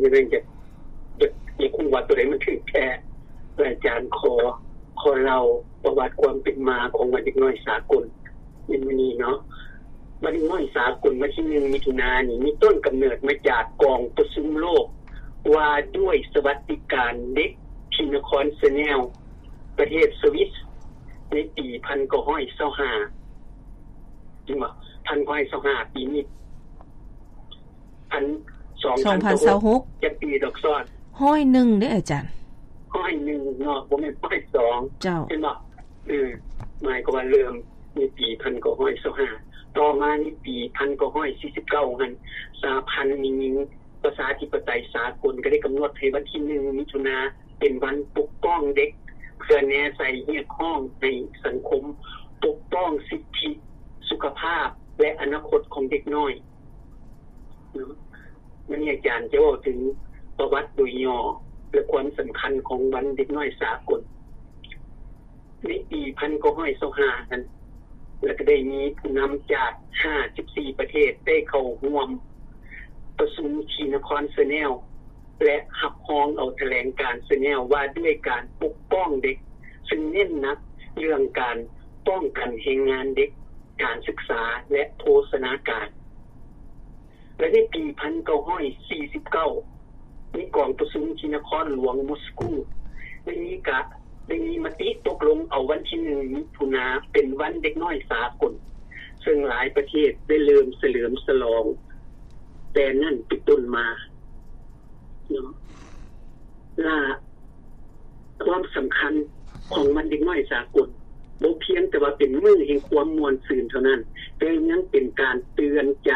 ຍັງຈະ ຈະ ຈະຮູ້ວ່າໂຕໃດມັນຖືກແທ້. ອາຈານຂໍ ຂໍເລົ່າປະຫວັດຄວາມເປັນມາຂອງວັນເດັກນ້ອຍສາກົນໃນມື້ນີ້ເນາະ. ວັນເດັກນ້ອຍສາກົນວັນທີໜຶ່ງມິຖຸນານີ້ ມີຕົ້ນກຳເນີດມາຈາກກອງປະຊຸມໂລກວ່າດ້ວຍສະຫວັດດີການເດັກທີ່ນະຄອນເຊແນວ ປະເທດສະວິດ ໃນປີພັນເກົ້າຮ້ອຍຊາວຫ້າ ເຫັນບໍ່? ພັນເກົ້າຮ້ອຍຊາວຫ້າ ປີນີ້ ພັນ ສອງພັນຊາວຫົກ ຈັກປີດອກຊ້ອນ? ຮ້ອຍໜຶ່ງເດ້ອາຈານ. ຮ້ອຍໜຶ່ງເນາະ ບໍ່ແມ່ນຮ້ອຍສອງ ເຈົ້າ ເຫັນບໍ່? ເອີ ໝາຍຄວາມວ່າເລີ່ມໃນປີພັນເກົ້າຮ້ອຍຊາວຫ້າ ຕໍ່ມາໃນປີພັນເກົ້າຮ້ອຍສີ່ສິບເກົ້າຫັ້ນ ສະຫະພັນແມ່ຍິງ ປະຊາທິປະໄຕສາກົນກໍໄດ້ກຳນົດໃຫ້ວັນທີໜຶ່ງມິຖຸນາເປັນວັນປົກປ້ອງເດັກ ເພື່ອແນໃສ່ຮຽກຮ້ອງໃຫ້ສັງຄົມປົກປ້ອງສິດທິ ສຸຂະພາບ ແລະ ອະນາຄົດຂອງເດັກນ້ອຍເນາະ. ມື້ນີ້ອາຈານຈະເວົ້າເຖິງປະຫວັດໂດຍຫຍໍ້ ແລະ ຄວາມສຳຄັນຂອງວັນເດັກນ້ອຍສາກົນ. ໃນປີພັນເກົ້າຮ້ອຍຊາວຫ້ານັ້ນ ແລ້ວກໍໄດ້ມີຜູ້ນຳຈາກຫ້າສິບສີ່ປະເທດໄດ້ເຂົ້າຮ່ວມປະຊຸມທີ່ນະຄອນເຊແນວ ແລະ ຮັບຮອງເອົາຖະແຫຼງການເຊແນວວ່າດ້ວຍການປົກປ້ອງເດັກ ຊຶ່ງເນັ້ນໜັກເລື່ອງການປ້ອງກັນແຮງງານເດັກ, ການສຶກສາ ແລະ ໂພຊະນາການ. ແລະ ໃນປີພັນເກົ້າຮ້ອຍສີ່ສິບເກົ້າ ໃນກອງປະຊຸມທີ່ນະຄອນຫຼວງມົສກູ ໄດ້ມີກະ ໄດ້ມີມະຕິຕົກລົງເອົາວັນທີໜຶ່ງມິຖຸນາເປັນວັນເດັກນ້ອຍສາກົນ, ເຊິ່ງຫຼາຍປະເທດໄດ້ເລີ່ມສະເຫຼີມສະຫຼອງແຕ່ນັ້ນເປັນຕົ້ນມາເນາະ. ລະ ຄວາມສຳຄັນຂອງວັນເດັກນ້ອຍສາກົນ ບໍ່ພຽງແຕ່ວ່າເປັນມື້ແຫ່ງຄວາມມ່ວນຊື່ນເທົ່ານັ້ນ, ແຕ່ຍັງເປັນການເຕືອນໃຈ,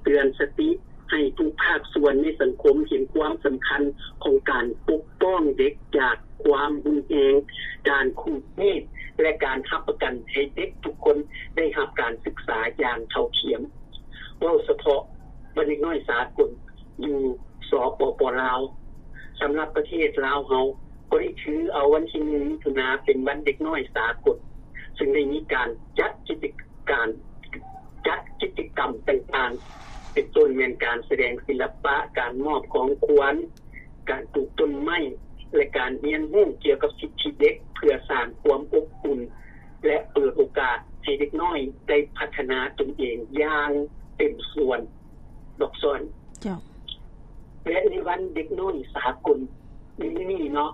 ເຕືອນສະຕິໃຫ້ທຸກພາກສ່ວນໃນສັງຄົມເຫັນຄວາມສຳຄັນຂອງການປົກປ້ອງເດັກຈາກຄວາມຮຸນແຮງ, ການຂູດຮີດ ແລະ ການຮັບປະກັນໃຫ້ເດັກທຸກຄົນໄດ້ຮັບການສຶກສາຢ່າງເທົ່າທຽມ. ເວົ້າສະເພາະວັນເດັກນ້ອຍສາກົນ ຢູ່ ສປປ ລາວ. ສຳລັບປະເທດລາວເຮົາກໍໄດ້ຖືເອົາວັນທີໜຶ່ງມິຖຸນາເປັນວັນເດັກນ້ອຍສາກົນ, ເຊິ່ງໄດ້ມີການຈັດກິດຈະການ, ຈັດກິດຈະກຳຕ່າງໆ ເປັນຕົ້ນແມ່ນການສະແດງສິລະປະ, ການມອບຂອງຂວັນ, ການປູກຕົ້ນໄມ້ ແລະ ການຮຽນຮູ້ກ່ຽວກັບສິດທິເດັກ ເພື່ອສ້າງຄວາມອົບອຸ່ນ ແລະ ເປີດໂອກາດໃຫ້ເດັກນ້ອຍໄດ້ພັດທະນາຕົນເອງຢ່າງເຕັມສ່ວນ. ດອກສອນ. ເຈົ້າ. ແລະ ໃນວັນເດັກນ້ອຍສາກົນໃນມື້ນີ້ເນາະ,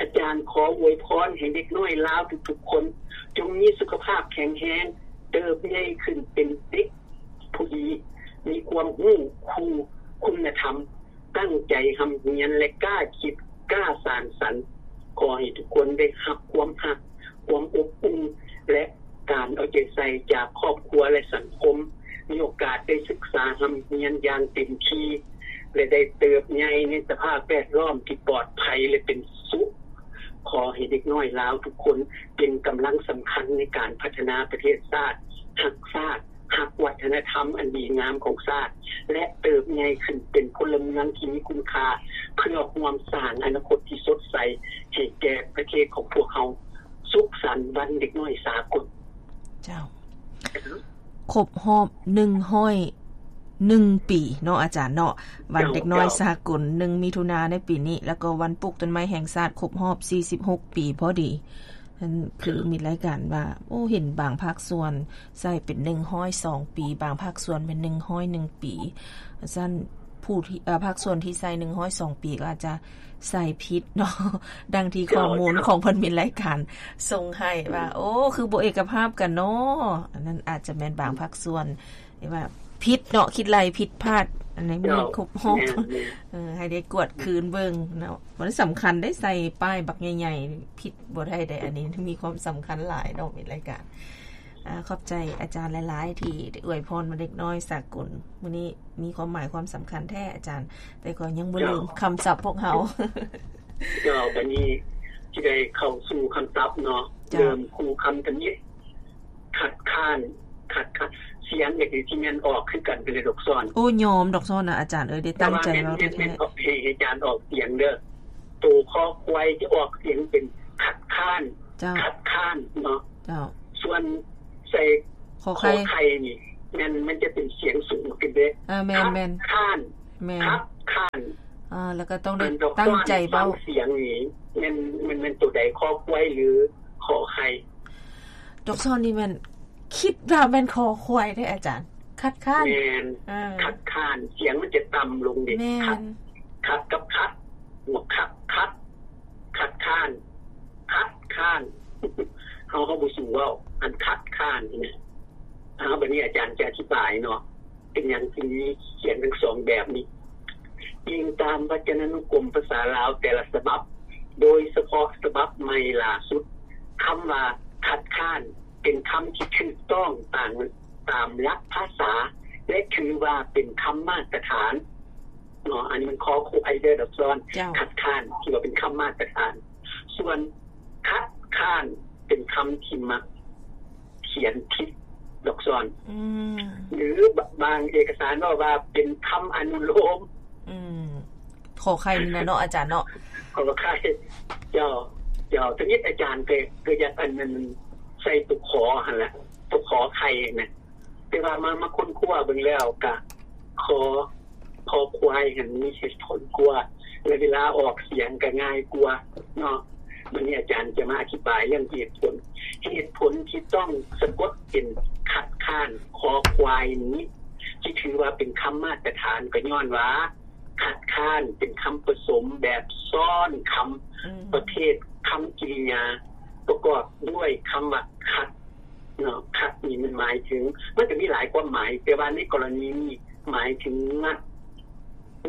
ອາຈານຂໍອວຍພອນໃຫ້ເດັກນ້ອຍລາວທຸກໆຄົນ ຈົ່ງມີສຸຂະພາບແຂງແຮງ, ເຕີບໃຫຍ່ຂຶ້ນເປັນເດັກຜູ້ດີ, ມີຄວາມຮູ້, ຄູ, ຄຸນນະທຳ, ຕັ້ງໃຈຮ່ຳຮຽນ ແລະ ກ້າຄິດ, ກ້າສ້າງສັນ. ຂໍໃຫ້ທຸກຄົນໄດ້ຮັບຄວາມຮັກ, ຄວາມອົບອຸ່ນ ແລະ ການເອົາໃຈໃສ່ຈາກຄອບຄົວ ແລະ ສັງຄົມ, ມີໂອກາດໄດ້ສຶກສາຮ່ຳຮຽນຢ່າງເຕັມທີ່ ແລະ ໄດ້ເຕີບໃຫຍ່ໃນສະພາບແວດລ້ອມທີ່ປອດໄພ ແລະ ເປັນສຸກ. ຂໍໃຫ້ເດັກນ້ອຍລາວທຸກຄົນເປັນກຳລັງສຳຄັນໃນການພັດທະນາປະເທດຊາດ, ຮັກຊາດ, ຮັກວັດທະນະທຳອັນດີງາມຂອງຊາດ ແລະ ເຕີບໃຫຍ່ຂຶ້ນເປັນພົນລະເມືອງທີ່ມີຄຸນຄ່າ ເພື່ອຮ່ວມສ້າງອະນາຄົດທີ່ສົດໃສໃຫ້ແກ່ປະເທດຂອງພວກເຮົາ. ສຸກສັນວັນເດັກນ້ອຍສາກົນ. ເຈົ້າ. ຄົບຮອບໜຶ່ງຮ້ອຍໜຶ່ງປີເນາະອາຈານເນາະ, ວັນເດັກນ້ອຍສາກົນ ເຈົ້າ ໜຶ່ງມິຖຸນາໃນປີນີ້ ແລ້ວກໍວັນປູກຕົ້ນໄມ້ແຫ່ງຊາດຄົບຮອບສີ່ສິບຫົກປີພໍດີ. ນັ້ນຄືມີລາຍການວ່າ ໂອ້ ເຫັນບາງພາກສ່ວນໃສ່ເປັນໜຶ່ງຮ້ອຍສອງປີ, ບາງພາກສ່ວນເປັນໜຶ່ງຮ້ອຍໜຶ່ງປີ. ຊັ້ນຜູ້ທີ່ ເອີ ພາກສ່ວນທີ່ໃສ່ໜຶ່ງຮ້ອຍສອງປີກໍອາດຈະໃສ່ຜິດເນາະ, ດັ່ງທີ່ຂໍ້ມູນຂອງເພິ່ນມີລາຍການສົ່ງໃຫ້ວ່າ ໂອ້ ຄືບໍ່ເອກະພາບກັນເນາະ. ອັນນັ້ນອາດຈະແມ່ນບາງພາກສ່ວນ ທີ່ວ່າຜິດເນາະ, ຄິດໄລ່ຜິດພາດ. ອັນນີ້ມີຄົບຮອບ ເອີ ໃຫ້ໄດ້ກວດຄືນເບິ່ງເນາະ. ມັນສຳຄັນໄດ້ໃສ່ປ້າຍບັກໃຫຍ່ໆ ຜິດບໍ່ໄດ້ເດ້. ອັນນີ້ມີຄວາມສຳຄັນຫຼາຍເນາະ ມີລາຍການ. ອາ ຂອບໃຈອາຈານຫຼາຍໆ ທີ່ໄດ້ອວຍພອນວັນເດັກນ້ອຍສາກົນ. ມື້ນີ້ມີຄວາມໝາຍຄວາມສຳຄັນແທ້ອາຈານ, ແຕ່ກໍຍັງບໍ່ລືມຄຳສັບພວກເຮົາ. ເຈົ້າ, ບັດນີ້ຊິໄດ້ເຂົ້າສູ່ຄຳສັບເນາະ. ເຈົ້າ. ເລີ່ມຄູ່ຄຳທຳອິດ. ຄັດຄ້ານ, ຄັດຄ້ານ, ສຽງນີ້ຊິແມ່ນອອກຄືກັນເລີຍດອກສອນ. ໂອ້ ຍອມດອກສອນນະອາຈານເອີຍ, ໄດ້ຕັ້ງໃຈເວົ້າແທ້ໆ. ແຕ່ວ່າແມ່ນ, ແມ່ນ, ແມ່ນເພາະໃຫ້ອາຈານອອກສຽງເດີ. ໂຕຄໍຄວາຍຈະອອກສຽງເປັນຄັດຄ້ານ. ເຈົ້າ. ຄັດຄ້ານເນາະ. ເຈົ້າ. ສ່ວນໃສ່ຂໍໄຂ່, ຂໍໄຂ່ນີ້ ແມ່ນມັນຈະເປັນສຽງສູງຂຶ້ນເດ້. ເອີ ແມ່ນ, ແມ່ນ. ຄັດຄ້ານ. ແມ່ນ. ຄັດຄ້ານ. ອ່າ ແລ້ວກໍຕ້ອງໄດ້ຕັ້ງໃຈເວົ້າ. ອັນດອກສອນຟັງສຽງນີ້ແມ່ນ ແມ່ນ ແມ່ນໂຕໃດ ຄໍຄວາຍ ຫຼື ຂໍໄຂ່? ດອກສອນນີ້ແມ່ນ ຄິດວ່າແມ່ນຄໍຄວາຍເດ້ອາຈານ. ຄັດຄ້ານ. ແມ່ນ. ເອີ ຄັດຄ້ານ ສຽງມັນຈະຕ່ຳລົງເດ້. ແມ່ນ. ຄັດ ຄັດກັບຄັດ ຄັດ ຄັດ ຄັດຄ້ານ ຄັດຄ້ານ ເຮົາ ເຮົາບໍ່ສູ້ເວົ້າ ອັນຄັດຄ້ານນີ້ນະ. ເອົາ ບາດນີ້ອາຈານຈະອະທິບາຍເນາະ ເປັນຫຍັງຈຶ່ງມີສຽງທັງສອງແບບນີ້. ອີງຕາມວັດຈະນານຸກົມພາສາລາວແຕ່ລະສະບັບ, ໂດຍສະເພາະສະບັບໃໝ່ຫຼ້າສຸດ, ຄຳວ່າຄັດຄ້ານ ເປັນຄຳທີ່ຖືກຕ້ອງຕາມ ຕາມຫຼັກພາສາ ແລະ ຖືວ່າເປັນຄຳມາດຕະຖານເນາະ. ອັນນີ້ມັນຄໍຄວາຍເດີດອກສອນ. ເຈົ້າ. ຄັດຄ້ານ ຖືວ່າເປັນຄຳມາດຕະຖານ. ສ່ວນຄັດຄ້ານ ເປັນຄຳທີ່ມັກຂຽນຜິດດອກສອນ. ອືມ. ຫຼືບາງເອກະສານເວົ້າວ່າເປັນຄຳອະນຸໂລມ. ອືມ. ຂໍໄຂ່ນີ້ນະເນາະ ອາຈານເນາະ. ຂໍໄຂ່. ເຈົ້າ ເຈົ້າ. ທຳອິດອາຈານກໍ ກໍຢາກອັນນັ້ນ ໃສ່ຕົວຂໍຫັ້ນລະ ຕົວຂໍໄຂ່ນະ. ແຕ່ວ່າມາ ມາຄົ້ນຄວ້າເບິ່ງແລ້ວກະ ຄໍ ຄໍຄວາຍຫັ້ນມີເຫດຜົນກວ່າ ແລະ ເວລາອອກສຽງກະງ່າຍກວ່າເນາະ. ບາດນີ້ອາຈານຈະມາອະທິບາຍເລື່ອງເຫດຜົນ. ເຫດຜົນທີ່ຕ້ອງສະກົດເປັນຄັດຄ້ານ ຄໍຄວາຍນີ້ ທີ່ຖືວ່າເປັນຄຳມາດຕະຖານ ກໍຍ້ອນວ່າ ຄັດຄ້ານເປັນຄຳປະສົມແບບຊ້ອນຄຳ ອືມ ປະເພດຄຳກິລິຍາ ປະກອບດ້ວຍຄຳວ່າຄັດເນາະ. ຄັດນີ້ມັນໝາຍເຖິງ ມັນກໍມີຫຼາຍຄວາມໝາຍ, ແຕ່ວ່າໃນກໍລະນີນີ້ໝາຍເຖິງງັດ,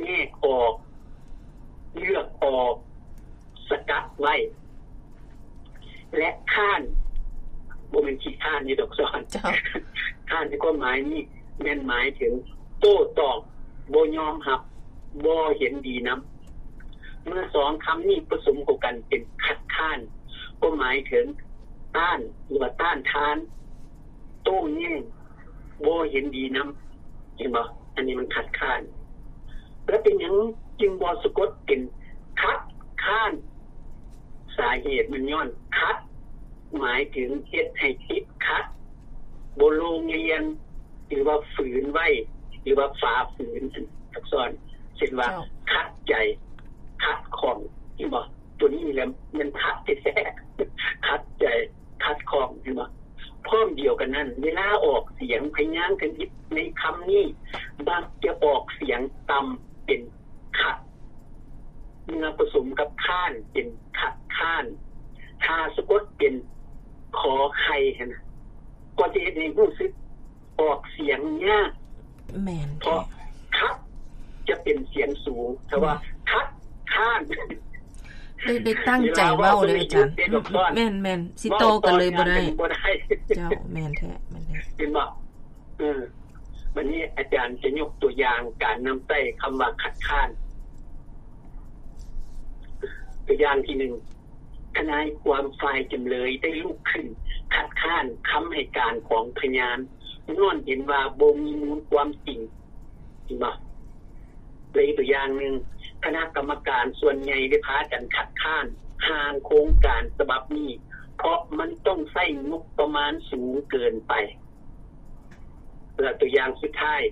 ແຍກອອກ, ເລືອກອອກ, ສະກັດໄວ້ ແລະ ຄ້ານ ບໍ່ແມ່ນຂີ້ຄ້ານນີ້ດອກສອນ. ເຈົ້າ. ຄ້ານໃນຄວາມໝາຍນີ້ແມ່ນໝາຍເຖິງໂຕ້ຕອບ, ບໍ່ຍອມຮັບ, ບໍ່ເຫັນດີນຳ. ເມື່ອສອງຄຳນີ້ປະສົມເຂົ້າກັນເປັນຄັດຄ້ານ ກໍໝາຍເຖິງຕ້ານ ຫຼືວ່າຕ້ານທານ, ໂຕ້ແຍ້ງ, ບໍ່ເຫັນດີນຳ. ເຫັນບໍ່? ອັນນີ້ມັນຄັດຄ້ານ. ແລ້ວເປັນຫຍັງຈຶ່ງບໍ່ສະກົດເປັນຄັດຄ້ານ? ສາເຫດມັນຍ້ອນຂັດ ໝາຍເຖິງເຮັດໃຫ້ຕິດຂັດ, ບໍ່ໂລງລຽນ ຫຼືວ່າຝືນໄວ້ ຫຼືວ່າຝ່າຝືນ ອັກສອນ ເຊັ່ນວ່າ ເຈົ້າ ຂັດໃຈ, ຂັດຂ້ອງ. ເຫັນບໍ່? ຕົວນີ້ແຫຼະແມ່ນຂັດແທ້ໆ, ຂັດໃຈ, ຂັດຂ້ອງ. ເຫັນບໍ່? ພ້ອມດຽວກັນນັ້ນ ເວລາອອກສຽງ ພະຍາງຄະນິດໃນຄຳນີ້ ມັກຈະອອກສຽງຕ່ຳເປັນ ຂັດ ເມື່ອປະສົມກັບຄ້ານເປັນຂັດຄ້ານ. ຖ້າສະກົດເປັນ ຂໍໄຂ່ ຫັ້ນນະ ກໍຈະເຮັດໃຫ້ຮູ້ສຶກອອກສຽງຍາກ. ແມ່ນ ເພາະ ແທ້ ຂັດ ຈະເປັນສຽງສູງ. ຖ້າວ່າ ແມ່ນ ຂັດຄ້ານ ໄດ້ ໄດ້ຕັ້ງໃຈເວົ້າເລີຍອາຈານ. ເວລາເວົ້າ ອືມ ແມ່ນໆ ຊິຕໍ່ກັນເລີຍບໍ່ໄດ້ ບໍ່ໄດ້. ເຈົ້າ ແມ່ນແທ້ ແມ່ນແທ້. ເຫັນບໍ່? ເອີ ບັດນີ້ອາຈານຈະຍົກຕົວຢ່າງການນຳໃຊ້ຄຳວ່າຂັດຄ້ານ. ຕົວຢ່າງທີໜຶ່ງ, ທະນາຍຄວາມຝ່າຍຈຳເລີຍໄດ້ລຸກຂຶ້ນຄັດຄ້ານຄຳໃຫ້ການຂອງພະຍານ ຍ້ອນເຫັນວ່າບໍ່ມີມູນຄວາມຈິງ. ເຫັນບໍ່? ແລະ ອີກຕົວຢ່າງໜຶ່ງ, ຄະນະກຳມະການສ່ວນໃຫຍ່ໄດ້ພາກັນຄັດຄ້ານຮ່າງໂຄງການສະບັບນີ້ ເພາະມັນຕ້ອງໃຊ້ງົບປະມານສູງເກີນໄປ. ແລະ ຕົວຢ່າງສຸດທ້າຍ,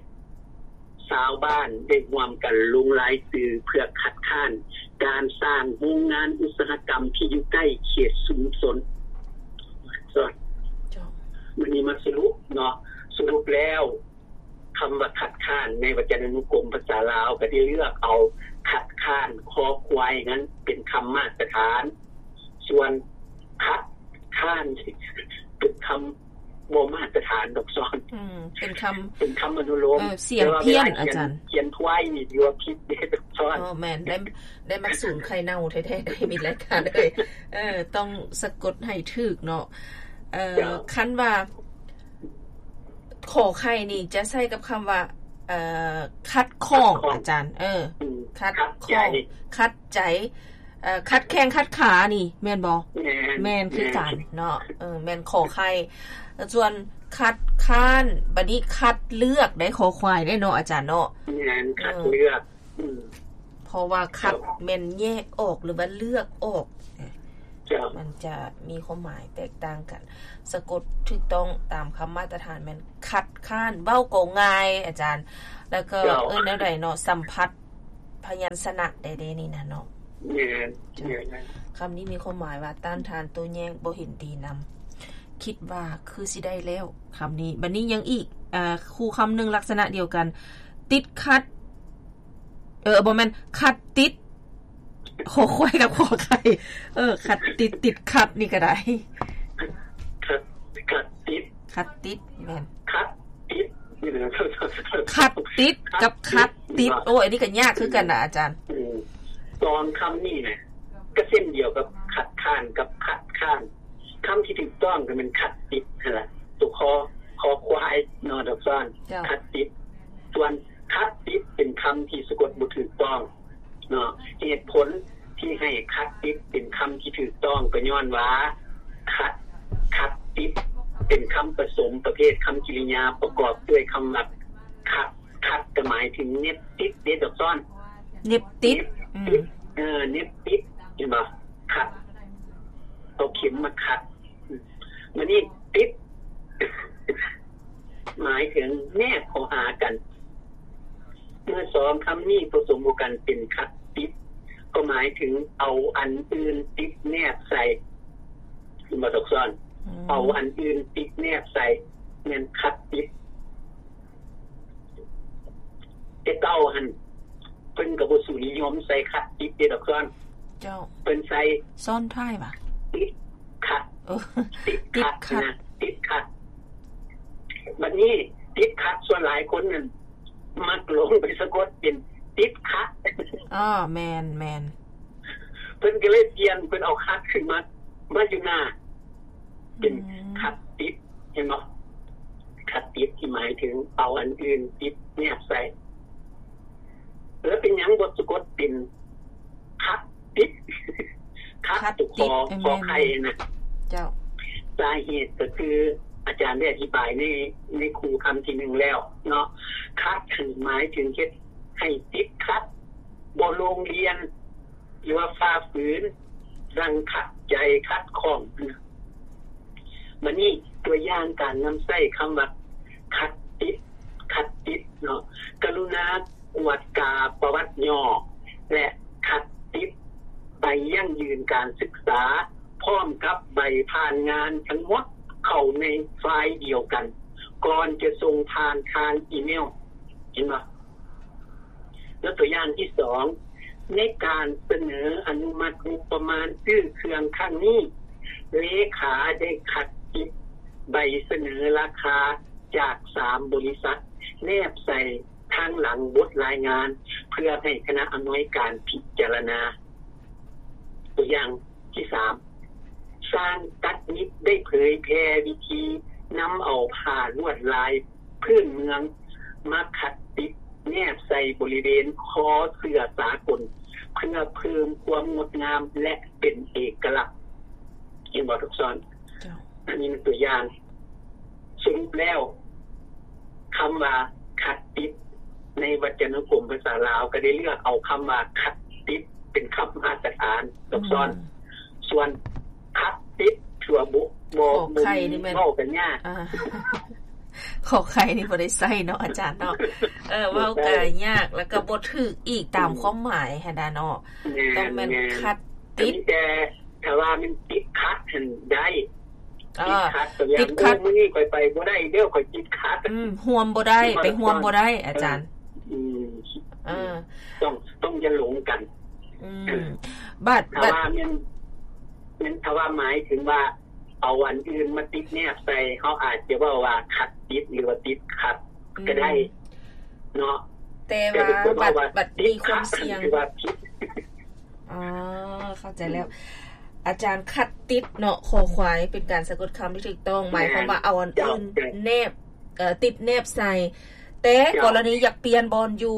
ຊາວບ້ານໄດ້ຮ່ວມກັນລົງລາຍຊື່ເພື່ອຄັດຄ້ານການສ້າງໂຮງງານອຸດສາຫະກຳທີ່ຢູ່ໃກ້ເຂດຊຸມຊົນ. ເຈົ້າ. ມື້ນີ້ມາສະຫຼຸບເນາະ, ສະຫຼຸບແລ້ວ ຄຳວ່າຄັດຄ້ານໃນວັດຈະນານຸກົມພາສາລາວ ກໍໄດ້ເລືອກເອົາຄັດຄ້ານ ຄໍຄວາຍ ນັ້ນເປັນຄຳມາດຕະຖານ, ສ່ວນຂັດຄ້ານ ເປັນຄຳບໍ່ມາດຕະຖານດອກສອນ. ອືມ ເປັນຄຳ ເປັນຄຳອະນຸໂລມ. ເອີ ສຽງພຽນ ອາຈານ. ຂຽນຄວາຍນີ້ຖືວ່າຜິດເດ້ດອກສອນ. ອໍ ແມ່ນ ໄດ້ ໄດ້ມາສູນໄຂ່ເນົ່າແທ້ໆ ໄດ້ມີລາຍການເອີຍ. ເອີ ຕ້ອງສະກົດໃຫ້ຖືກເນາະ. ເອີ ເຈົ້າ. ຄັນວ່າ ຂໍໄຂ່ນີ້ຈະໃຊ້ກັບຄຳວ່າ ເອີ ຂັດຂ້ອງ ຂັດຂ້ອງ ອາຈານ. ເອີ ອືມ ຂັດຂ້ອງ ຂັດໃຈ ຂັດໃຈ ເອີ ຂັດແຂ້ງຂັດຂານີ້ແມ່ນບໍ່? ແມ່ນ ແມ່ນຄືກັນເນາະ. ເອີ ແມ່ນຂໍໄຂ່. ສ່ວນຄັດຄ້ານ ບັດນີ້ຄັດເລືອກໄດ້ ຄໍຄວາຍໄດ້ເນາະ ອາຈານເນາະ. ແມ່ນ ເອີ ຄັດເລືອກ. ອືມ ເພາະວ່າຂັດ ເຈົ້າ ແມ່ນແຍກອອກ ຫຼືວ່າເລືອກອອກ. ເຈົ້າ. ມັນຈະມີຄວາມໝາຍແຕກຕ່າງກັນ. ສະກົດຖືກຕ້ອງຕາມຄຳມາດຕະຖານແມ່ນຂັດຄ້ານ. ເວົ້າກໍງ່າຍອາຈານ, ແລ້ວກໍ ເຈົ້າ ເອີ້ນແນວໃດເນາະ? ສຳຜັດ ພະຍັນຊະນະໄດ້ເດ້ນີ້ນະເນາະ. ແມ່ນ ເຈົ້າ ແມ່ນ ແມ່ນ. ຄຳນີ້ມີຄວາມໝາຍວ່າ ຕ້ານທານໂຕ້ແຍ້ງ ບໍ່ເຫັນດີນຳ. ຄິດວ່າຄືຊິໄດ້ແລ້ວ ຄຳນີ້. ບັດນີ້ຍັງອີກ ອ່າ ຄູ່ຄຳໜຶ່ງລັກສະນະດຽວກັນ ຕິດຂັດ ເອີ ບໍ່ແມ່ນ ຂັດຕິດ ຂໍຄວາຍກັບຂໍໄຂ່ ເອີ ຂັດຕິດ ຕິດຂັດນີ້ກໍໄດ້ ຂັດ ຂັດຕິດ ຂັດຕິດ ແມ່ນ ຂັດຕິດ ຂັດຕິດກັບຂັດຕິດ. ໂອ້ຍ ອັນນີ້ກໍຍາກຄືກັນນະອາຈານ. ອືມ ສອງຄຳນີ້ນະ ກໍເຊັ່ນດຽວກັບຂັດຄ້ານກັບຂັດຄ້ານ. ຄຳທີ່ຖືກຕ້ອງກໍແມ່ນຂັດຕິດຫັ້ນລະ ຕົວຄໍ ຄໍຄວາຍເນາະ ດອກຊອນ ເຈົ້າ ຂັດຕິດ. ສ່ວນຂັດຕິດເປັນຄຳທີ່ສະກົດບໍ່ຖືກຕ້ອງເນາະ. ເຫດຜົນທີ່ໃຫ້ຂັດຕິດເປັນຄຳທີ່ຖືກຕ້ອງກໍຍ້ອນວ່າ ຂັດ ຂັດຕິດເປັນຄຳປະສົມປະເພດຄຳກິລິຍາປະກອບດ້ວຍຄຳວ່າ ຂັດ ຂັດກໍໝາຍເຖິງເນັບຕິດເດ້ ດອກຊອນ ເນັບຕິດ ເນັບຕິດ ອືມ ເອີ ເນັບຕິດ ເຫັນບໍ່? ຂັດ ເອົາເຂັມມາຂັດ. ບັດນີ້ຕິດ ໝາຍເຖິງແນບເຂົ້າຫາກັນ. ເມື່ອສອງຄຳນີ້ປະສົມເຂົ້າກັນເປັນຂັດຕິດ ກໍໝາຍເຖິງເອົາອັນອື່ນຕິດແນບໃສ່ ເຫັນບໍ່ ດອກຊອນ? ອືມ ເອົາອັນອື່ນຕິດແນບໃສ່ ແມ່ນຂັດຕິດ. ແຕ່ເກົ່າຫັ້ນ ເພິ່ນກໍບໍ່ສູ່ນິຍົມໃສ່ຂັດຕິດເດ້ ດອກຊອນ. ເຈົ້າ ເພິ່ນໃສ່ຊ້ອນທ້າຍຫວາ? ຕິດຂັດ ເອີ ຕິດຂັດ ຕິດຂັດ ນະ ຕິດຂັດ. ບັດນີ້ຕິດຂັດ ສ່ວນຫຼາຍຄົນນັ້ນມັກຫຼົງໄປສະກົດເປັນຕິດຂະ. ອໍ ແມ່ນໆ ເພິ່ນກໍເລີຍປ່ຽນ ເພິ່ນເອົາຂັດຂຶ້ນມາ ມາຢູ່ໜ້າ ເປັນ ອືມ ຂັດຕິດ ເຫັນບໍ່? ຂັດຕິດທີ່ໝາຍເຖິງເອົາອັນອື່ນຕິດແນບໃສ່. ແລ້ວເປັນຫຍັງບໍ່ສະກົດເປັນຂັດຕິດ? ຂັດ ຂັດຕິດ ຕົວຄໍ ເອີ ຂໍໄຂ່ນະ. ເຈົ້າ ສາເຫດກໍຄື ອາຈານໄດ້ອະທິບາຍໃນ ໃນຄູ່ຄຳທີໜຶ່ງແລ້ວເນາະ. ຂັດນັ້ນໝາຍເຖິງເຮັດໃຫ້ຕິດຂັດ ບໍ່ລົງລຽນ ຫຼືວ່າຝ່າຝືນ ດັ່ງຂັດໃຈຂັດຂ້ອງ. ບັດນີ້ຕົວຢ່າງການນຳໃຊ້ຄຳວ່າ ຂັດຕິດ ຂັດຕິດເນາະ, ກະລຸນາກວດກາປະຫວັດຫຍໍ້ ແລະ ຂັດຕິດໃບຢັ້ງຢືນການສຶກສາ ພ້ອມກັບໃບຜ່ານງານທັງໝົດເຂົ້າໃນໄຟລ໌ດຽວກັນ ກ່ອນຈະສົ່ງຜ່ານທາງອີເມວ. ເຫັນບໍ່? ແລ້ວຕົວຢ່າງທີສອງ ໃນການສະເໜີອະນຸມັດງົບປະມານຊື້ເຄື່ອງຄັ້ງນີ້, ເລຂາໄດ້ຄັດຕິດໃບສະເໜີລາຄາຈາກສາມບໍລິສັດ ແນບໃສ່ທາງຫຼັງບົດລາຍງານ ເພື່ອໃຫ້ຄະນະອຳນວຍການພິຈາລະນາ. ຕົວຢ່າງທີສາມ ຊ່າງຕັດຫຍິບໄດ້ເຜີຍແຜ່ວິທີນຳເອົາຜ້າລວດລາຍພື້ນເມືອງມາຂັດຕິດແນບໃສ່ບໍລິເວນຄໍເສື້ອສາກົນ ເພື່ອເພີ່ມຄວາມງົດງາມ ແລະ ເປັນເອກະລັກ. ເຫັນບໍ່ ທຸກທ່ານ? ເຈົ້າ. ອັນນີ້ແມ່ນຕົວຢ່າງ. ສະຫຼຸບແລ້ວ ຄຳວ່າຂັດຕິດ ໃນວັດຈະນຸກົມພາສາລາວກໍໄດ້ເລືອກເອົາຄຳວ່າຂັດຕິດ ເປັນຄຳມາດຕະຖານ ອືມ ກັບຊ້ອນ. ສ່ວນຂັດຕິດ ຖືວ່າບໍ່ ບໍ່ ຂໍໄຂ່ນີ້ແມ່ນ ບໍ່ມີ ເວົ້າກັນຍາກ. ອ່າ ຂໍໄຂ່ນີ້ບໍ່ໄດ້ໃຊ້ເນາະ ອາຈານເນາະ. ເອີ ບໍ່ໃຊ້ ເວົ້າກໍຍາກ ແລ້ວກໍບໍ່ຖືກອີກຕາມ ອືມ ຄວາມໝາຍຫັ້ນນະເນາະ. ແມ່ນ ຕ້ອງແມ່ນ ແມ່ນ ຂັດຕິດ ແຕ່ ຖ້າວ່າແມ່ນຕິດຂັດຫັ້ນໄດ້. ເອີ ຕິດຂັດ ຕົວຢ່າງ ຕິດຂັດ ໂອ້ ມື້ນີ້ຂ້ອຍໄປບໍ່ໄດ້ເດີ້ ຂ້ອຍຕິດຂັດ. ອືມ ຮ່ວມບໍ່ໄດ້ ໄປຮ່ວມບໍ່ໄດ້ ອາຈານ. ເອີ ອືມ ເອີ ຕ້ອງ ຕ້ອງຢ່າຫຼົງກັນ. ອືມ ເອີ ບາດ ຖ້າວ່າ ບາດ ແມ່ນ ແມ່ນ ຖ້າວ່າໝາຍເຖິງວ່າເອົາອັນອື່ນມາຕິດແນບໃສ່ ເຮົາອາດຈະເວົ້າວ່າຂັດຕິດ ຫຼືວ່າຕິດຂັດ ອືມ ກໍໄດ້ເນາະ. ແຕ່ວ່າ ແຕ່ບາງຄົນເວົ້າວ່າ ບາດ ບາດມີຄວາມສ່ຽງ ຕິດຂັດ ຄືວ່າຜິດ. ອໍ ເຂົ້າໃຈແລ້ວ ອາຈານ. ຂັດຕິດເນາະ ຄໍຄວາຍ ເປັນການສະກົດຄຳທີ່ຖືກຕ້ອງ ໝາຍຄວາມວ່າເອົາອັນອື່ນແນບ ເອີ ຕິດແນບໃສ່. ແຕ່ກໍລະນີຢາກປ່ຽນບ່ອນຢູ່